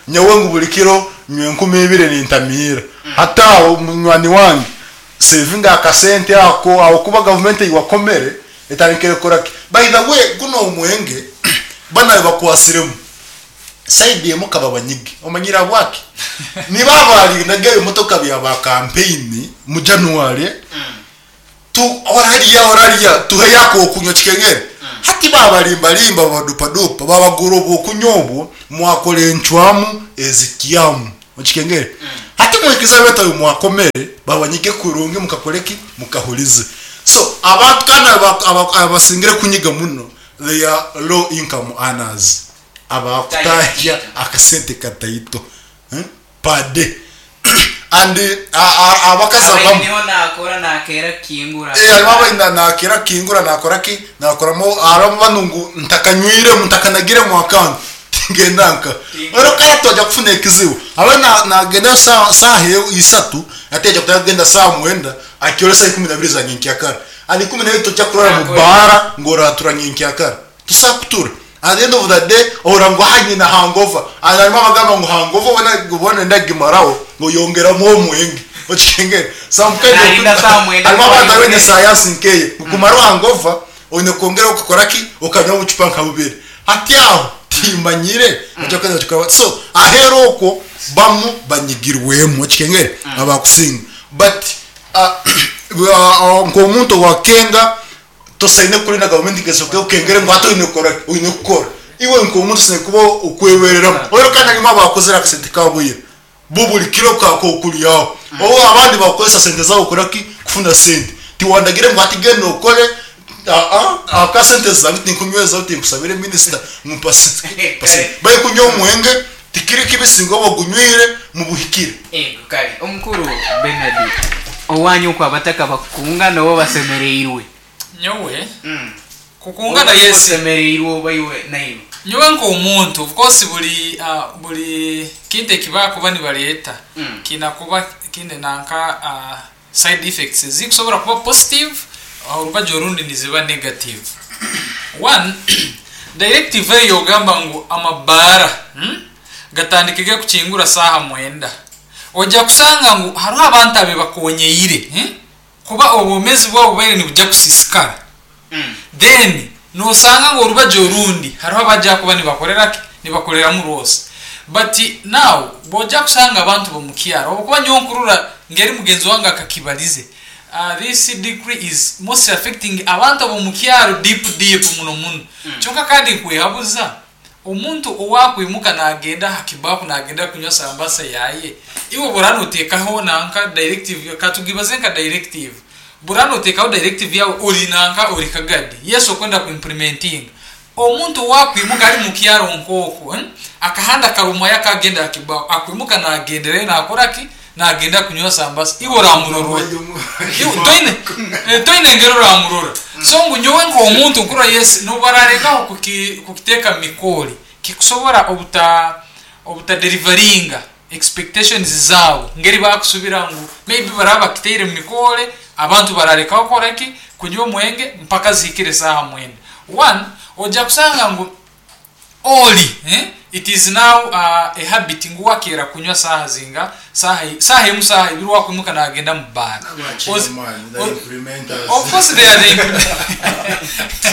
Nyowe ngu buri kiro nywa enkumi ibiri nintamiira. Hati aho munywani wange sevinga akasente ako ahabw'okuba gavumenti ei wakomere etandikire kukora ki? By the way gunu omwenge banu abu bakwatsiremu. Side emwe kababanyige. Omanyire ahabwaki? Nibo abarindaga ebimotoka bya ba campaign mu January tu orarya orarya tuheyo akokunywa kikengere. Hati babarimbarimba babadupadupa babagura obwokunywa obwo mwakora encwamu ezikyamu. Okikengere? Hati mwikirize abetu abu mwakomere babanyige kurungi mukakora ki? Mukahurize. So abantu kandi abasingire kunyiga muno they are low income earners. Abakutahya akasente kataito per day and abakazi Abaine abamu niho nakora nakeera kukingura. Eh, harimu abaine nakeera kukingura nakora ki nakoramu harimu banu ngu ntakanywiremu ntakanagiremu akantu tingenda nka rero kare twaja kufuna ekizibu abe nagenda saaha isatu ate aja kutandika kugenda saaha mwenda akyore saaha ikumi nabiri za nyenkyakara and ikumi nebiri tojja kurara mu baara ngu oratura nyenkyakara Tusa kutura at the end of the day ohurira ngu aha nyine hangover and harimu abagamba ngu hangover oba oba noyenda kugimaraho ngu oyongeramu omwenge okikengere some kind of Narinda saa mwenda harimu abantu abaine ngu sayansi nkeyo ngu kumara hangover oine kwongera okakora ki okanywa obucupa nka bubiri hati aho timanyire so aheru okwo bamu banyigirwemu okikengere abakusinga but nk'omuntu owakenga Tosaine kurinda gavumenti ngu esooke ekukengere ngu hati oine kukora ki? Oine kukora. Iwe nk'omuntu osaine kuba okwebereramu. Reero kandi harimu abakozire akasente kaabo ira. Bo buri kiro k'okuryaho. Obu abandi bakukozesa sente zaabo kukora ki? Kufuna sente. Tiwandagire ngu hati genda okore, aa, ahabw'okuba sente zange tinkunywezaho tinkusabire minisita ngu mpa sente. Barikunywa omwenge, tikiri kibi singa oba ogunywire mubuhikire. Ego kare omukuru Bernard owanyu okwo abataka bakukunga nobo basemereirwe. Nyowe kukungana yes. Osemereirwe oba iwe naiwe. Nyowe nk'omuntu of course buri buri kintu ekibakuba nibareeta kiina kuba kiine nanka side effects ezikusobora kuba positive orubaju orundi niziba negative. One, directive eyo ogamba ngu amabaara gatandikege kukingura saaha mwenda, oja kusanga ngu haroho abantu abebakonyeire kuba obwomezi bwabo bubaire nibugya kusisikara. Then nosanga ngu orubaju orundi haroho abagya kuba nibakorera ki? Nibakoreramu rwose. But now bwogya kusanga abantu bomukyaro habwokuba nyowe nkurora ngeri mugenzi wange akakibalize, this decree is mostly affecting abantu abomukyaro deep deep muno muno. Kyonka kandi nkwehabuza Omuntu owakwimuka nagenda aha kibaku nagenda kunywa sambasa yaye, iwe bw'oraba notekaho nanka directive, katugibaze nka directive, bw'oraba notekaho directive yawe ori nanka ori kagadi, yes okwenda ku implementinga, omuntu owakwimuka ari mukyaro nk'okwo, akahanda karumwayo akagenda aha kibaku, akwimuka nagenderayo nakora ki? Nagenda kunywa sambasa, iwe oramurora ota? Iwe toine toine engeri oramurora. So ngu nyowe nk'omuntu nkurora yes n'obu baralengaho kuki kukiteeka mu mikoori, kikusobora obuta obutaderivaringa expectations zaabo ngeri bakusubira ngu maybe baraba bakiteire mu mikoore abantu baralekaho kukora ki? Kunywa omwenge mpaka zihikire esaaha mwenda. One, oja kusanga ngu Oli it is now a habit ngu wakeera kunywa saaha zinga saaha saaha emu saaha ibiri wakwimuka nagenda mu baara of course they are the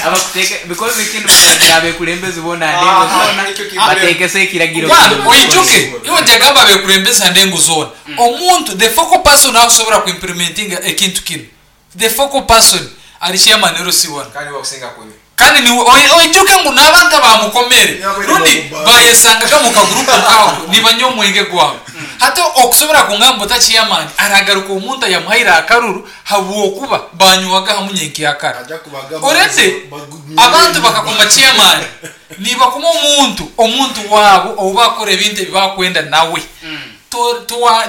Abakuteeka because ekindi bakaragira abekulembezi boona ha ndengo zoona bateekese ekiragiro One, kinu omu oijuke mikono. iwe ngyagamba abekulembezi ha ndengo zoona omuntu the focal person akusobora ku implementinga ekintu kinu The focal person ari chairman LC1. Kandi niwe akusinga kunywa. Kandi niwe oijuke ngu n'abantu abamukomere rundi bayesangaga mu kagurupu nkako nibanywa omwenge gwabo. Hati okusobora kungamba ota chairman aragaruka omuntu ayamuhaire akaruru habwokuba banywaga hamu nyenkyakara. Already abantu bakakoma chairman nibakoma omuntu omuntu wabo ou bakukora ebintu ebi bakwenda nawe.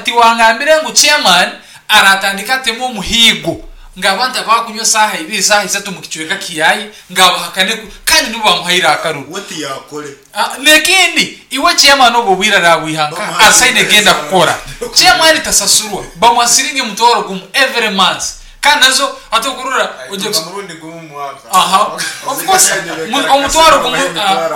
Tiwangambire ngu chairman Aratandika atemu omuhiigo ngu abantu abakunywa esaaha ibiri, esaaha isatu omu kicweka kiaye ngu abahakane ku kandi nibo bamuhaire akaruru. We tiyakore. N'ekindi, iwe chairman obwo obwire arabwiha nkaha? Asaine genda kukora. Chairman tasasurwa, bamuha siringi omutwaro gumu every month kandi nazo hati okurora oija Aituka murundi gumu omu mwaka. Aha, of course omutwaro gumu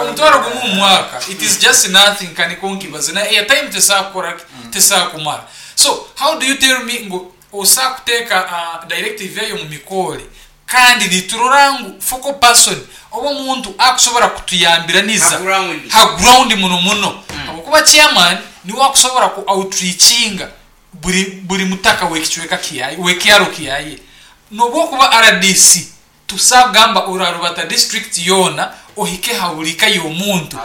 omutwaro gumu omu mwaka it is just nothing ka nikwo nkibaze na airtime tesobola kukora ki? Tesobola kumara. So how do you tell me ngu osobola kuteeka directive eyo omu mikoore kandi niturora ngu focal person Oba omuntu akusobora kutuyambiraniza Ha ground. ha ground muno muno habwokuba chairman niwe akusobora ku outreachinga buri buri mutaka w'ekicweka kyaye w'ekyaro kyaye nobwokuba RDC tusagamba orarubata district yoona ohike ha buri ka y'omuntu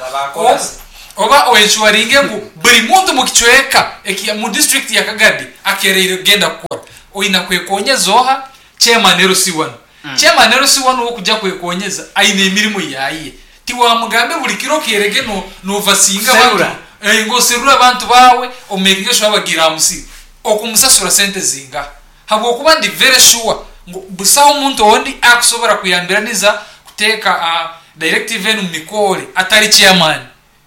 oba oenshuwaringe ngu buri muntu mu kicweka eki mu district ya Kagadi akereire kugenda kukora oina kwekonyeza oha chairman LC1 chairman LC1 wokujja kwekonyeza aine emirimu yaye tiwamugambe buri kiro kerege no novasinga Kuserura. abantu ngoserura abantu bawe omakinge sure bagira amusiri okumusasura sente zinga habwokuba ndi very sure ngu busaho omuntu ondi akusobora kuyambiraniza kuteeka directive enu mumikore atari chairman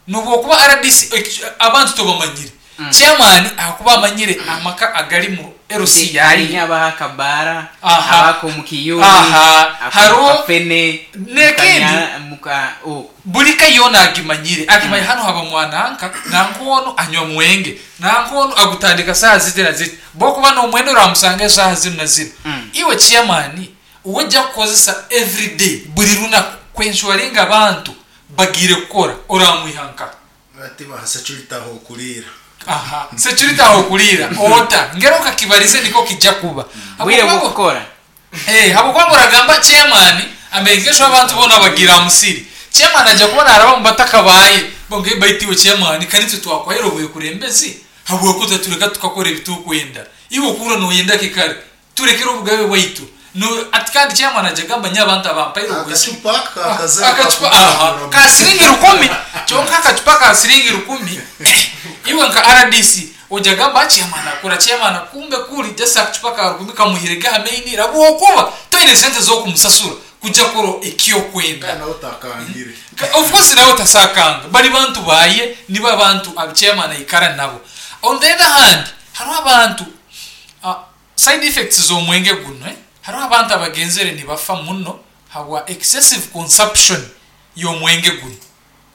nobwokuba RDC abantu tobamanyire chairman akuba amanyire amaka agali mu LC yaye hariho abaha akabara Aha. abako mu kiyuni Aha. Hariho- akafene N'ekindi. muka oh buri ka yona agimanyire agimanye hano haba mwananka nankono anywa mwenge nankono agutandika saa ziti na ziti bokuba nomwenda oramusanga esaaha zinu na zinu iwe chairman uwejja kukozesa everyday buri lunaku kwenshuwaringa abantu bagire kukora oramwihanka ati baha security aho kurira aha security aho kurira ota ngero kakibarize niko kijja kuba bwire Habwokuba- bwokukora habwokuba muragamba chairman amegesho abantu bona bagira musiri chairman ajja kubona araba mu bataka baye bonge baitiwe chairman kanitwe twakwahera obuye kurembezi habwokuta tureka tukakora ebitukwenda iwe okura noyenda kikare turekere obugabe bwaitu no ati kandi chairman ajja gamba nyabantu abampaire obwesi agacupa kakaze akacupa aha ka siringi rukumi kyonka akacupa ka siringi rukumi iwe nka rdc ojja gamba chairman akora chairman kumbe kuri just akacupa ka rukumi kamuhirege hameinira bwokuba toine sente z'okumusasura kujja koro ekyokwenda nawe utakangire of course nawe tasakanga bari bantu baye nibo abantu abichairman aikara nabo on the other hand hariho abantu side effects z'omwenge guno eh? Hariho abantu abagenzere nibafa muno habwa excessive consumption y'omwenge guno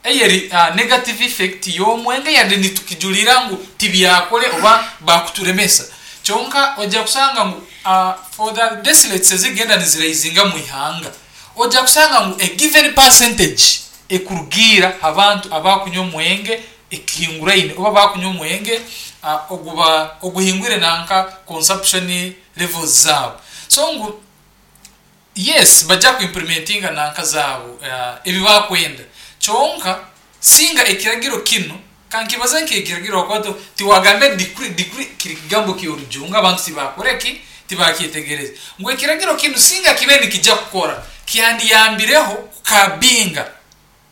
eyeri negative effect y'omwenge yadde nitukijulira ngu tibyakole oba bakuturemesa kyonka ojja kusanga ngu for the death rates ezigenda niziraizinga mu ihanga ojja kusanga ngu a given percentage ekurugiira abantu abakunywa omwenge ekihinguraine oba bakunywa omwenge oguba oguhingwire nanka consumption levels zaabo so ngu yes bajja kuimplementinga nanka zaabo ebi bakwenda kyonka singa ekiragiro kino kankibaza nk'ekiragiro wakwato tiwagambe decree decree kiri kigambo ky'orujungu abantu tibakoreki tibakyetegereza ngu ekiragiro kino singa kibe nikijja kukora kyandiyambireho kukabinga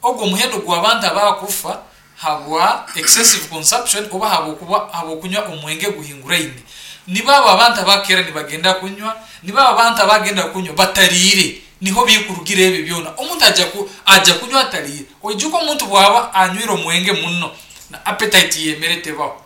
ogwo omuhendo gw'abantu abakufa habwa excessive consumption oba habwokuba habwokunywa omwenge guhinguraine nibaba abantu abakera nibagenda kunywa nibaba abantu abagenda kunywa batariire niho bikurugira ebyo byona omuntu ajja kunywa atariire oijuka omuntu bwaba anywire omwenge muno na appetite yemere tebaho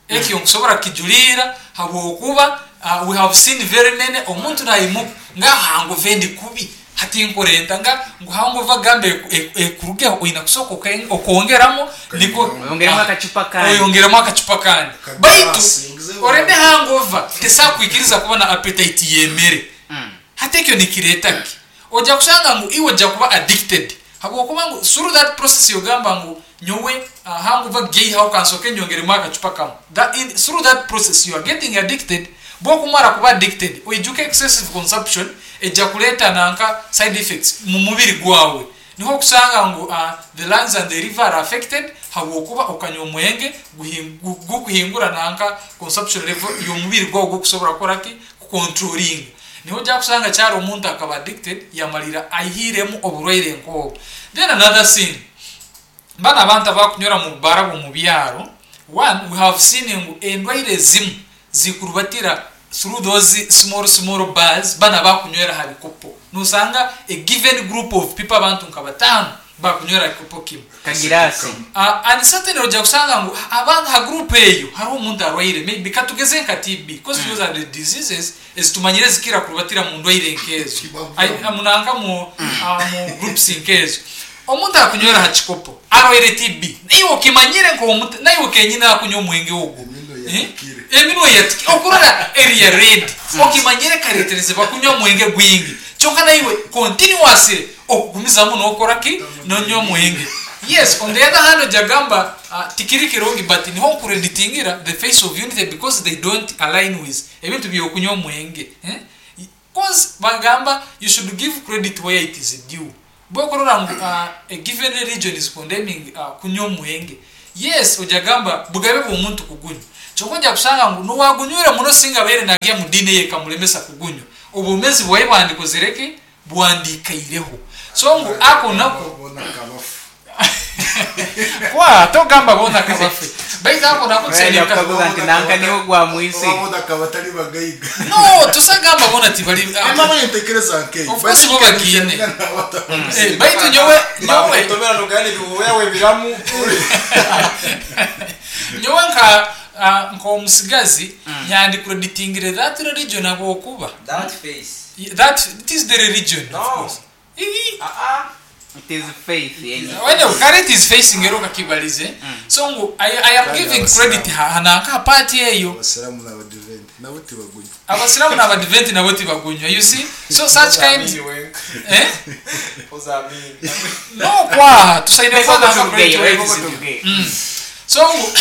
ekyo nkusobora kijulira habwokuba we have seen very many omuntu nayimuka nga hangu vendi kubi hati nkorenta nga ngu hangu vagambe ekurugeho oina kusooka okongeramo niko Oyongeremu akacupa kandi. oyongeremu akacupa kandi Akaglasi, baitu ngize orede hangova tesakwikiriza kuba na appetite yemere hati ekyo nikireeta ki ojja kusanga ngu iwe ojja kuba addicted habwokuba ngu through that process yogamba ngu nyowe hanguva geihaho kansoke nyongeremu akacupa kamwe through that process you are getting addicted bwokumara kuba addicted oijuke excessive consumption ejja kuleeta nanka side effects mu mubiri gwawe niho okusanga ngu the lungs and the liver are affected habwokuba okanywa omwenge gukuhingura nanka consumption level y'omubiri gwawe gukusobora kukora ki kucontrolling niho ojja kusanga kyari omuntu akaba addicted yamalira aihiremu oburwaire nk'obwo then another thing bana abantu abakunywera mu bara mu byaro one we have seen ngu endwaire ezimu zikurubatira through those small small bars bana bakunywera ha bikopo nusanga a given group of people abantu nka batano bakunywera kikopo kimwe kagirasi And certainly ojja kusanga ngu abantu ha group eyo hariho omuntu arwaire maybe katugeze nka TB because those are the diseases ezitumanyire zikira kurubatira mu ndwaire nkezo munanka mu groups nkezo omuntu akunywera ha kikopo arwaire TB naiwe okimanyire nk'omuntu naiwe kenyine akunywa omwenge ogwo eminwe yatikire okurora area red okimanyire karetereze bakunywa omwenge gwingi kyonka naiwe continuously Okugumizamu nokora ki? Nonywa omwenge. Yes, on the other hand oja gamba tikiri kirungi but niho nkureditingira the face of unity because they don't align with ebintu byokunywa omwenge eh? Coz bagamba you should give credit where it is due. Bwokurora ngu a given religion is condemning kunywa omwenge, yes oja gamba bugabe bwomuntu kugunywa. Kyonka oja kushanga ngu nowagunywire muno singa abaire nagya mu diini eye ekamulemesa kugunywa, obwomezi bwaye bwandikozire ki? Bwandikaireho. So ngu ako nako. Boona kabafu. Kwa togamba boona kabafe. Baitu ako nako Brian tusaine akukaguza nti nanka niwe gwamwise. Oba boona akaba atari bagaiga. No, tusagamba boona tibari. Emma nintekereza nkeyo. Of course bo bagiine. Eh, baitu nyowe nyowe Bakutomera nogani biwoyawe biramu. Nyowe nka nk'omusigazi nyandikupreditingire that religion habwokuba That face. That it is the religion of No. course. Ii. Ah It is faith yenye. When current is facing ero kakibalize. So ngu I am Kandi giving Abasiramu. credit hananka part eyo. Abasiramu n'abadiventi nabo tibagunywa. Abasiramu n'abadiventi nabo tibagunywa. You see? So such kind eh? Ozamini. No kwa tusaine Reka kwa nanka turugeyo, credit where it reka is due. turugeyo. So ngu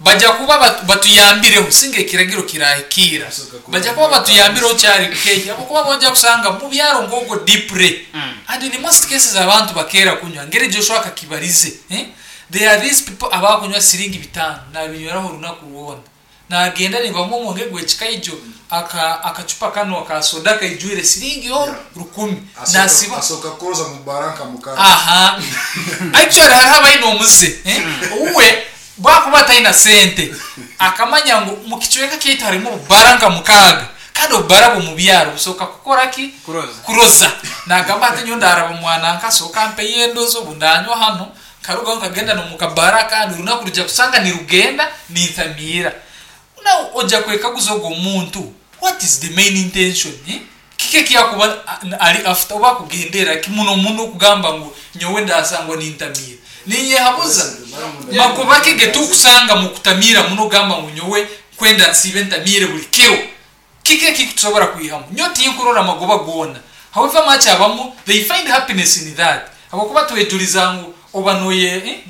bajja kuba batuyambireho singa ekiragiro kirahikira bajja kuba batuyambireho kyari kehi abakuba bojja kusanga mu byaro ng'ogwo deeply and in most cases abantu bakeera kunywa ngeri Joshua akakibarize eh? There are these people abakunywa siringi 5 nabinyweraho orunaku rwona nagenda nibamu omwenge gw'ekikaijo akacupa kano aka soda kaijwire siringi yo 10 nasiba Asoka kuroza mu baranka mukara. Aha, actually hariho abaine omuze eh? Uwe bwakuba ataina sente akamanya ngu mukicweka kyaitu harimu obubara nka 6 kandi obubara bw'omu byaro busooka kukora ki? Kuroza. Kuroza. Nagamba ati nyowe ndaraba mwana nkasooka mpeyo endozo obu ndanywa hano nkarugaho nkagenda nomukabara kandi orunaku rujya kusanga nirugenda nintamiira. Now ojja kwekaguza ogwo omuntu, what is the main intention eh? Kiki ekyakuba ari after oba akugendera ki muno muno okugamba ngu nyowe ndasangwa nintamiira ninyehabuza magoba ke getukusanga mu kutamiira muno ogamba ngu nyowe kwenda nsiibe ntamiire buli kiro. Kiki ekikutusobora kwihamu? Nyowe tinkurora amagoba goona. However much abamu they find happiness in that, habwokuba twejuriza ngu oba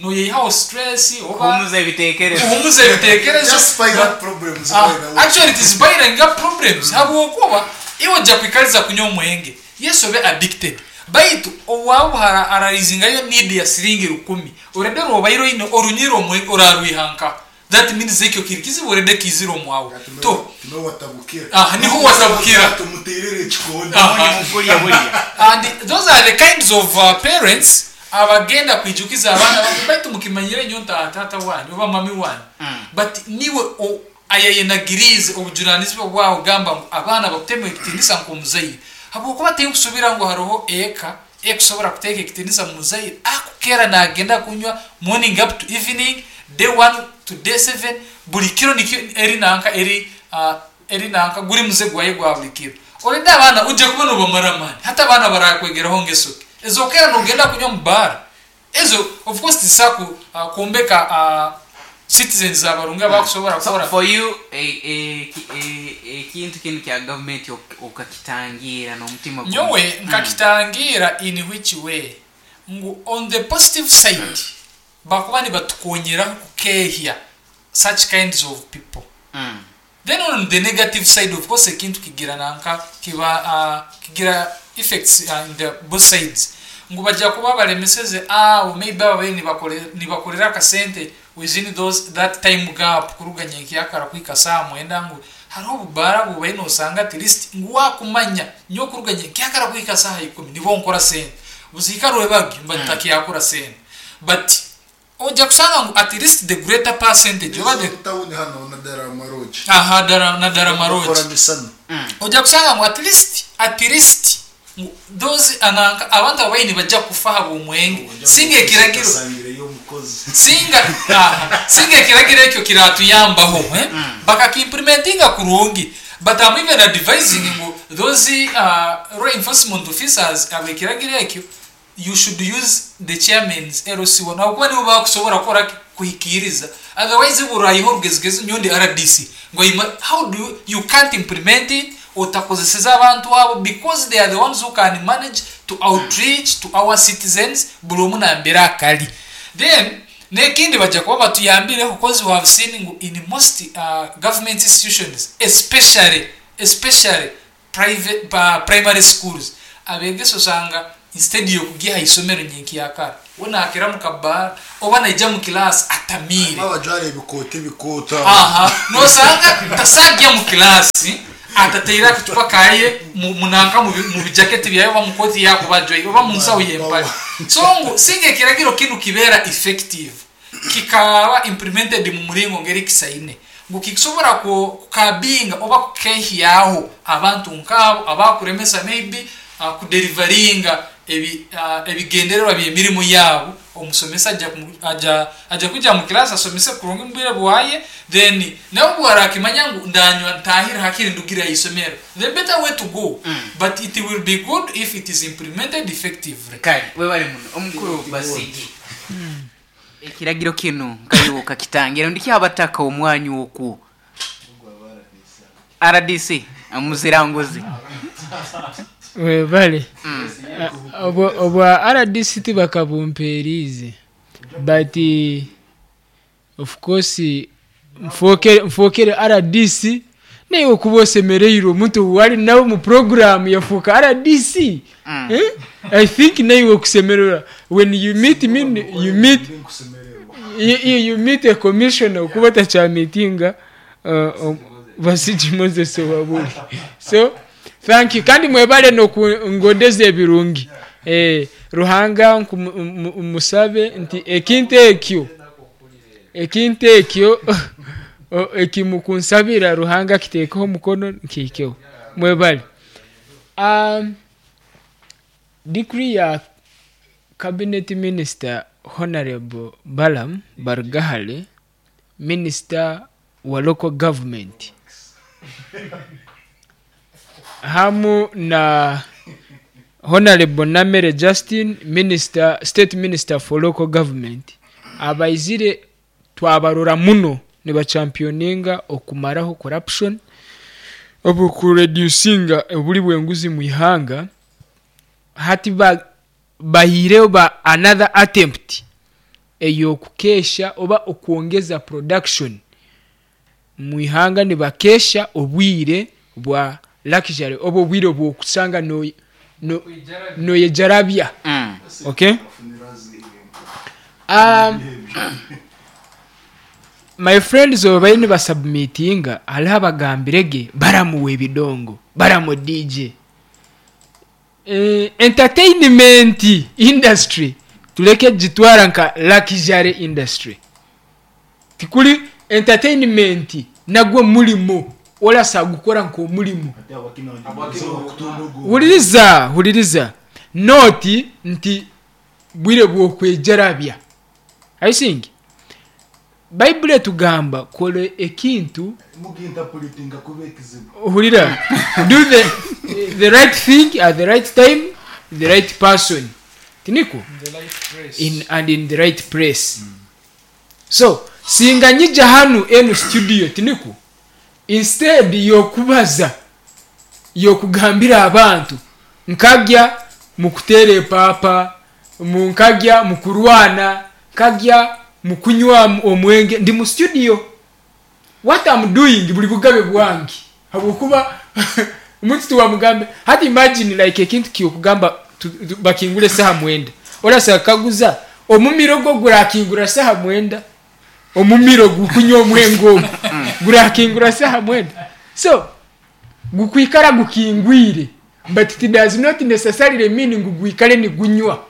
noyeyihaho stress oba Kuhumuza ebitekerezo. kuhumuza ebitekerezo. Just pile up problems right away. Actually it is piling up problems habwokuba iwe ojja kwikariza kunywa omwenge, yes, obe addicted, baitu owabu ararizingayo need ya siringi 10 orede rwobaire oine orunyire omwenge orarwihanka. That means ekyo kiri kizibu orede kizire omwawe to Niho watabukira. Ah, niho watabukira. Tumutirire ekikondo. Aha. Mukulya bulya. And those are the kinds of parents abagenda kwijukiza abaana babo, baitu mukimanyire nyo tata wanyu oba mami wanyu but niwe ayayenagirize obujunanizibwa bwawe gamba ngu abaana bakutema ekitinisa nk'omuzaire habwokuba tinkusubira ngu hariho eka ekusobora kuteeka ekitinisa mu muzaire akukera nagenda kunywa morning up to evening, day 1 to day 7, buli kiro nikyo eri nanka eri nanka guri muze gwaye gwa buli kiro. Orede abaana ujja kuba nobamara amaani hati abaana barakwegeraho ngeso ki ezokera nogenda kunywa mu bara ezo. Of course tisaku kwombeka citizens abarungi abakusobora So kukora. for you ekintu kinu kya gavumenti okakitangira n'omutima gumu. Nyowe nkakitangira in which way? Ngu on the positive side bakuba nibatukonyeraho kukehya such kinds of people. Then on the negative side, of course, ekintu kigira nanka kiba kigira effects in the both sides ngu bajja kuba balemeseze abo maybe ababaire nibakorera akasente within those that time gap kuruga nyenkyakara kuhika saa 9, ngu hariho obubara bubaire nosanga at least ngu wakumanya nyowe kuruga nyenkyakara kuhika saaha 10 nibo nkora sente buzihika rwebagyo mba ntakyakora sente, but ojja kusanga ngu at least the greater percentage oba the Tawuni hano na Daramaroji. Aha, na Daramaroji. Bakora misana. Ojja kusanga ngu at least ngu those ananka abantu ababaire nibajja kufa habw'omwenge singa ekiragiro Kasangire y'omukozi. Singa aha, singa ekiragiro ekyo kiratuyambaho eh? Bakakiimplementinga kurungi, but I'm even advising ngu those law enforcement officers abekiragiro ekyo, you should use the chairman's LC1 habwokuba nibo bakusobora kukora ki? Kuhikiriza. Otherwise burayiho orugezigezi nyondi RDC ngo how do you, you can't implement it. Otakozeseze abantu abo because they are the ones who can manage to outreach to our citizens buri omwe nambere akari. Then nekindi baija kuba batuyambireho coz we have seen ngu in most government institutions especially especially private primary schools abegesa oshanga instead yokugya aha isomero nyenkyakara we nakira mu kabaara oba naija mu class atamiire. Harimu abajwara ebikooti ebikooto aho. Aha nosanga tasagya mu class atataire akacupa kaye mu nanka mu bijaketi byaye oba mu kooti yakuba ajwaire oba mu nsaho y'empare. So ngu singa ekiragiro kinu kibeera effective kikaba implemented mu muringo ngeri kisaine ngu kikusobora kukabinga oba kukehyaho abantu nkaabo abakuremesa maybe kuderivaringa ebigendererwa by'emirimo yaabo. Omusomesa aja aja aja kwija mu class asomese kurungi mu bwire bwaye then nawe obu arakimanya ngu ndanywa ntahire hakiri ndugire aha isomero the better way to go but it will be good if it is implemented effectively. Kare webare muno omukuru Basigi. Ekiragiro kinu nkaiwe okakitangira rundi kyabataka omwanya okwo rdc omuziranguzi. Webale. Obwa rdc tibakabumperiize but of course nfokere rdc naiwe okuba osemereirwe omuntu ou wari nawe omu program yafuuka rdc. Eh? I think naiwe okusemererwa when you meet me you meet you, you meet a commissioner okuba otakyamitinga Basigi Moses Owabuli. So thank you kandi mwebale nokungondeza ebirungi. Eh, Ruhanga nkumusabe nti ekintu ekyo ekintu ekyo ekimukunsabira Ruhanga akitekeho omukono nkihikeho. Mwebale. Um, decree ya cabinet minister Honorable Balaam Barugahare, minister wa local government hamu na Honorable Namere Justin, minister, state minister for local government abaizire twabarora muno nibachampioninga okumaraho corruption, obu kureducinga oburi bw'enguzi mu ihanga, hati ba bahiireho ba another attempt ey'okukeesha oba okwongeza production mu ihanga nibakeesha obwire bwa luxury oba obwire obw'okushanga noyejarabya. Okay? My friends obu bariyo nibasubmitinga hariho abagambire ge baramuwa ebidongo, baramu DJ. Entertainment industry tureke kugitwara nka luxury industry. Tikuri entertainment nagwo murimo orasa gukora nk'omurimo. Huririza, huririza. Not nti bwire bw'okwejarabya. Are you seeing? Baibuli etugamba kora ekintu hurira do the, the right thing at the right time the right person tinikwo in, and in the right place so singa nyija hanu enu studio tinikwo instead yokubaza yokugambira abantu nkagya mukuteera epaapa nkagya mukurwana nkagya mukunywa omwenge ndi mu studio what am doing buri bugabe bwange habwokuba omuntu tiwamugambe hati imagine like ekintu kyokugamba bakingura esaha mwenda orasa kaguza omumiro gwo gurakingura saha mwenda omumiro gukunywa omwenge ogwo gurakingura saha mwenda so gukwikara gukingwire but it does not necessarily mean ngu gwikare nigunywa.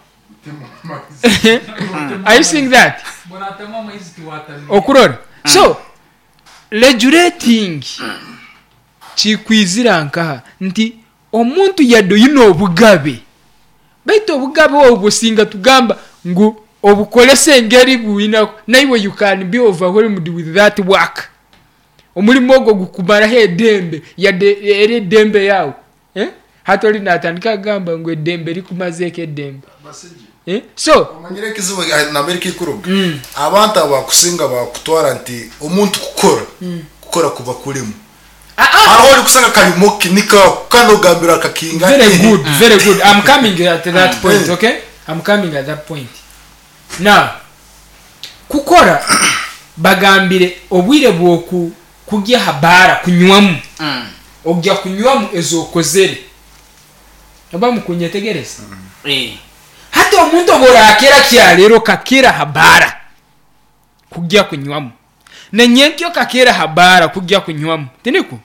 Are you seeing that? Okurora. So regulating kikwizira nkaha nti omuntu yadde oyine obugabe baitu obugabe obwo singa tugamba ngu obukorese engeri bwina naiwe you can be overwhelmed with that work. Omurimo ogwo gukumaraho edembe yadde eri edembe yawe. Eh? Hati ori natandika kugamba ngu edembe rikumazeeko edembe. Eh? So omanyire ekizibu nambere kikuruga abantu abakusinga bakutwara nti omuntu kukora kukora kuba kurimu Hariho orikusanga kari moki niko kandi ogambira akakinga Very good, very good. I'm coming at that point, okay? I'm coming at that point. Now, kukora bagambire obwire bwoku kugya ha baara kunywamu ogya kunywamu ezokozere oba mukunyetegereza. Hati omuntu obworakera kyarero kakera ha baara kugya kunywamu nenyenkyo kakera ha baara kugya kunywamu tiniko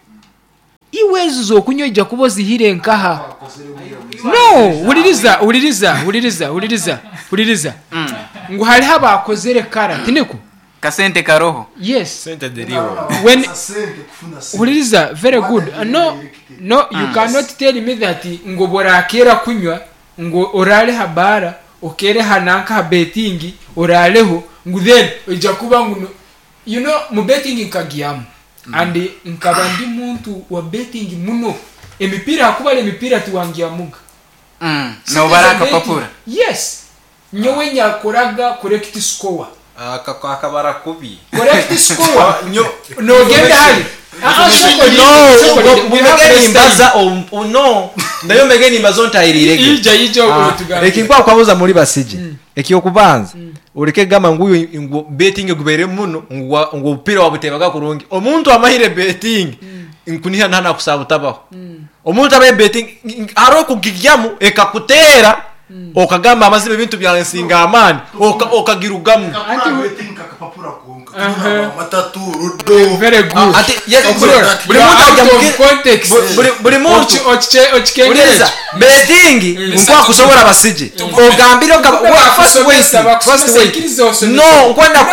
iwe ezo zokunywa ojja kuba ozihire nkaha. No, wuliriza, wuliriza, wuliriza, wuliriza, wuliriza ngu hariho abakozere kara tiniko Kasente karoho. Yes. Sente ziriho. When wuliriza, very good. No, no, you cannot tell me that ngo borakera kunywa ngo orare ha baara okere ha nanka ha betting orareho ngu then ojja kuba ngu you know, mu betting nkagiyamu and nkaba ndi muntu wa betting muno emipiira hakubara emipiira tiwangiyamuga. Nobara akapapura. Yes, nyowe nyakoraga correct score. Akabara kubi. Correct score nogenda hali. No, mumege nimbaza no nayo mege nimbaza ontayiriirege. Ija ija okutugamba. Ekinkwa kwabuza muri basije ekyokubanza ureke gamba nguyu ngu betting gubere muno ngu obupiira wabutebaga kurungi. Omuntu amahire betting nkuniha ntana kusaba utabaho. Omuntu abaye betting hariho kugigyamu ekakutera okagamba amazima ebintu byansinga amaani okagirugamu. Akapapura konka matatu rudo. Very good. Ati yes, Okurora. buri muntu Out ajya of mu context. Buri muntu Okikengereza. Uliriza, betting nkwa kusobora basije ogambire first wait, first wait, no nkwenda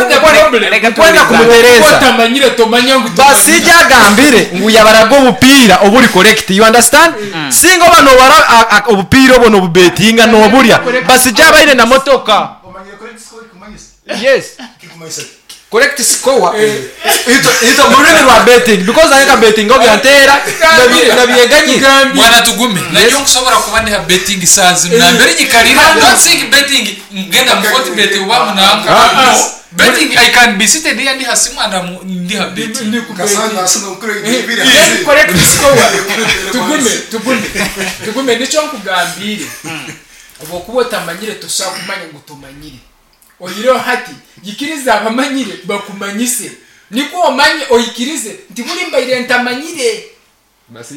nkwenda kumutereza. Otamanyire tomanya ngu Basije agambire ngu yabaraga obupiira oburi correct, you understand? Singa oba nobara obupiira obwo nobubetinga noburya basije abaine na motoka. Omanyire correct score ikumanyisa? Yes. Kikumanyisa? Correct score ito mu rurimi rwa betting because areka betting obyantera nabyeganyire. Bwana tugume nayo nkusobora kuba ndiha betting saa zino nambere nyikarira. Don't think betting ngenda mu forty bet uba munanka. No betting, I can be seated here ndiha simu and I'm ndiha betting. Kasanga asanga mukuru ibiri. Then correct score, tugume, tugume, tugume, nicyo nkugambire obwokuba otamanyire toshobora kumanya ngu tumanyire oyireho hati yikirize abamanyire bakumanyise niko omanye oyikirize nti buri mbaire ntamanyire.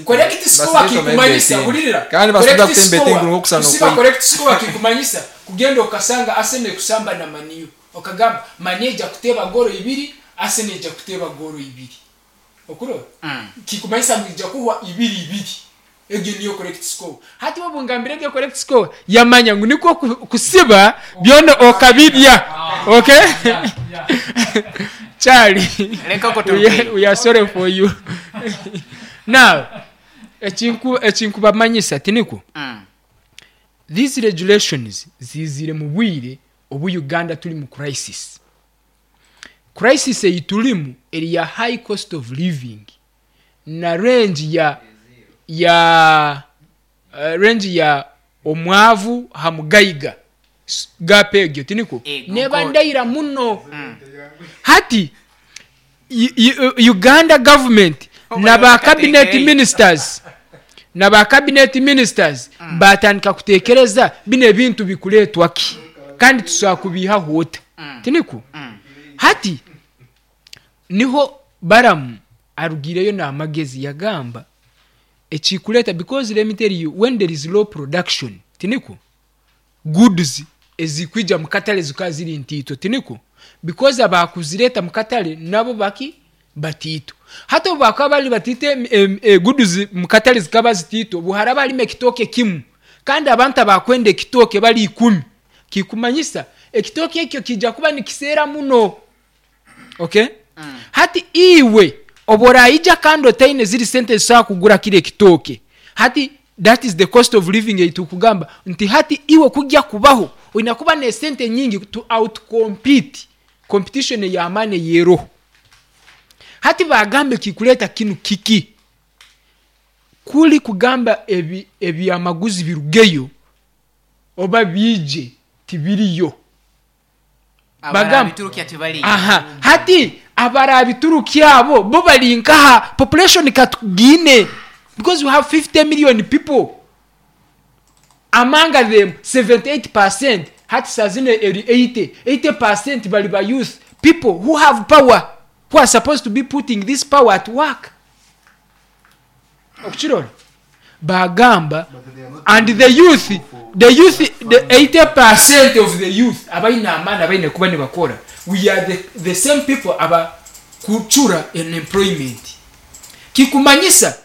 Correct score kikumanyisa hulirira. Kandi basida kutemba betting nko kusana. Kusiba correct score kikumanyisa kugenda okasanga Arsenal kusamba na Man U okagamba Man ejja kuteba goro ibiri, Arsenal ejja kuteba goro ibiri okurora kikumanyisa ngu ijja kuhwa ibiri ibiri. Egyo niyo correct score. Hati wabungambire egyo correct score yamanya ngu niko kusiba byona okabibya. Okay, Charlie. Reka ko We are sorry for you. Now, ekinkubamanyisa tiniko these regulations zizire mu bwire obu Uganda turi mu crisis. Crisis eyi turimu eri ya high cost of living na range ya omwavu hamugayiga gap egyo tiniko neba ndayira muno. Hati Uganda government na ba cabinet ministers na ba cabinet ministers batandika kutekereza bino ebintu bikuletwa ki kandi tusobola kubiha hota tiniko. Hati niho Baramu arugireyo n'amagezi yagamba ekikuleta because let me tell you, when there is low production tiniko goods ezikwija mu katale zikaba ziri ntiito tiniko because abakuzireta mu katale nabo baki batiito. Hati obu bakaba bari batiite goods mu katale zikaba zitiito buhara barima ekitooke kimu kandi abantu abakwenda ekitooke bari 10 kikumanyisa ekitooke ekyo kijja kuba nikiseera muno. Okay, hati iwe oborayija kandi otaine ziri sente zisobola kugura kiri ekitooke hati that is the cost of living eitukugamba nti hati iwe kujja kubaho olina kuba nesente nyingi to outcompete competition ey'amaani yeroho. Hati bagambe kikuleta kinu kiki kuli kugamba ebyamaguzi birugeyo oba bije tibiriyo. Abarabiturukia tibali. Aha, hati Abaraabiturukya abo bo bari nkaha? Population ka tugiine because we have 50 million people among them 78 percent hati saa zinu eri 80, 80 percent bari ba youth people who have power who are supposed to be putting this power at work. Okukirora baagamba and the youth the youth the 80 percent of the youth abaine amaani abaine kuba nibakora we are the, the same people aba kucura unemployment kikumanyisa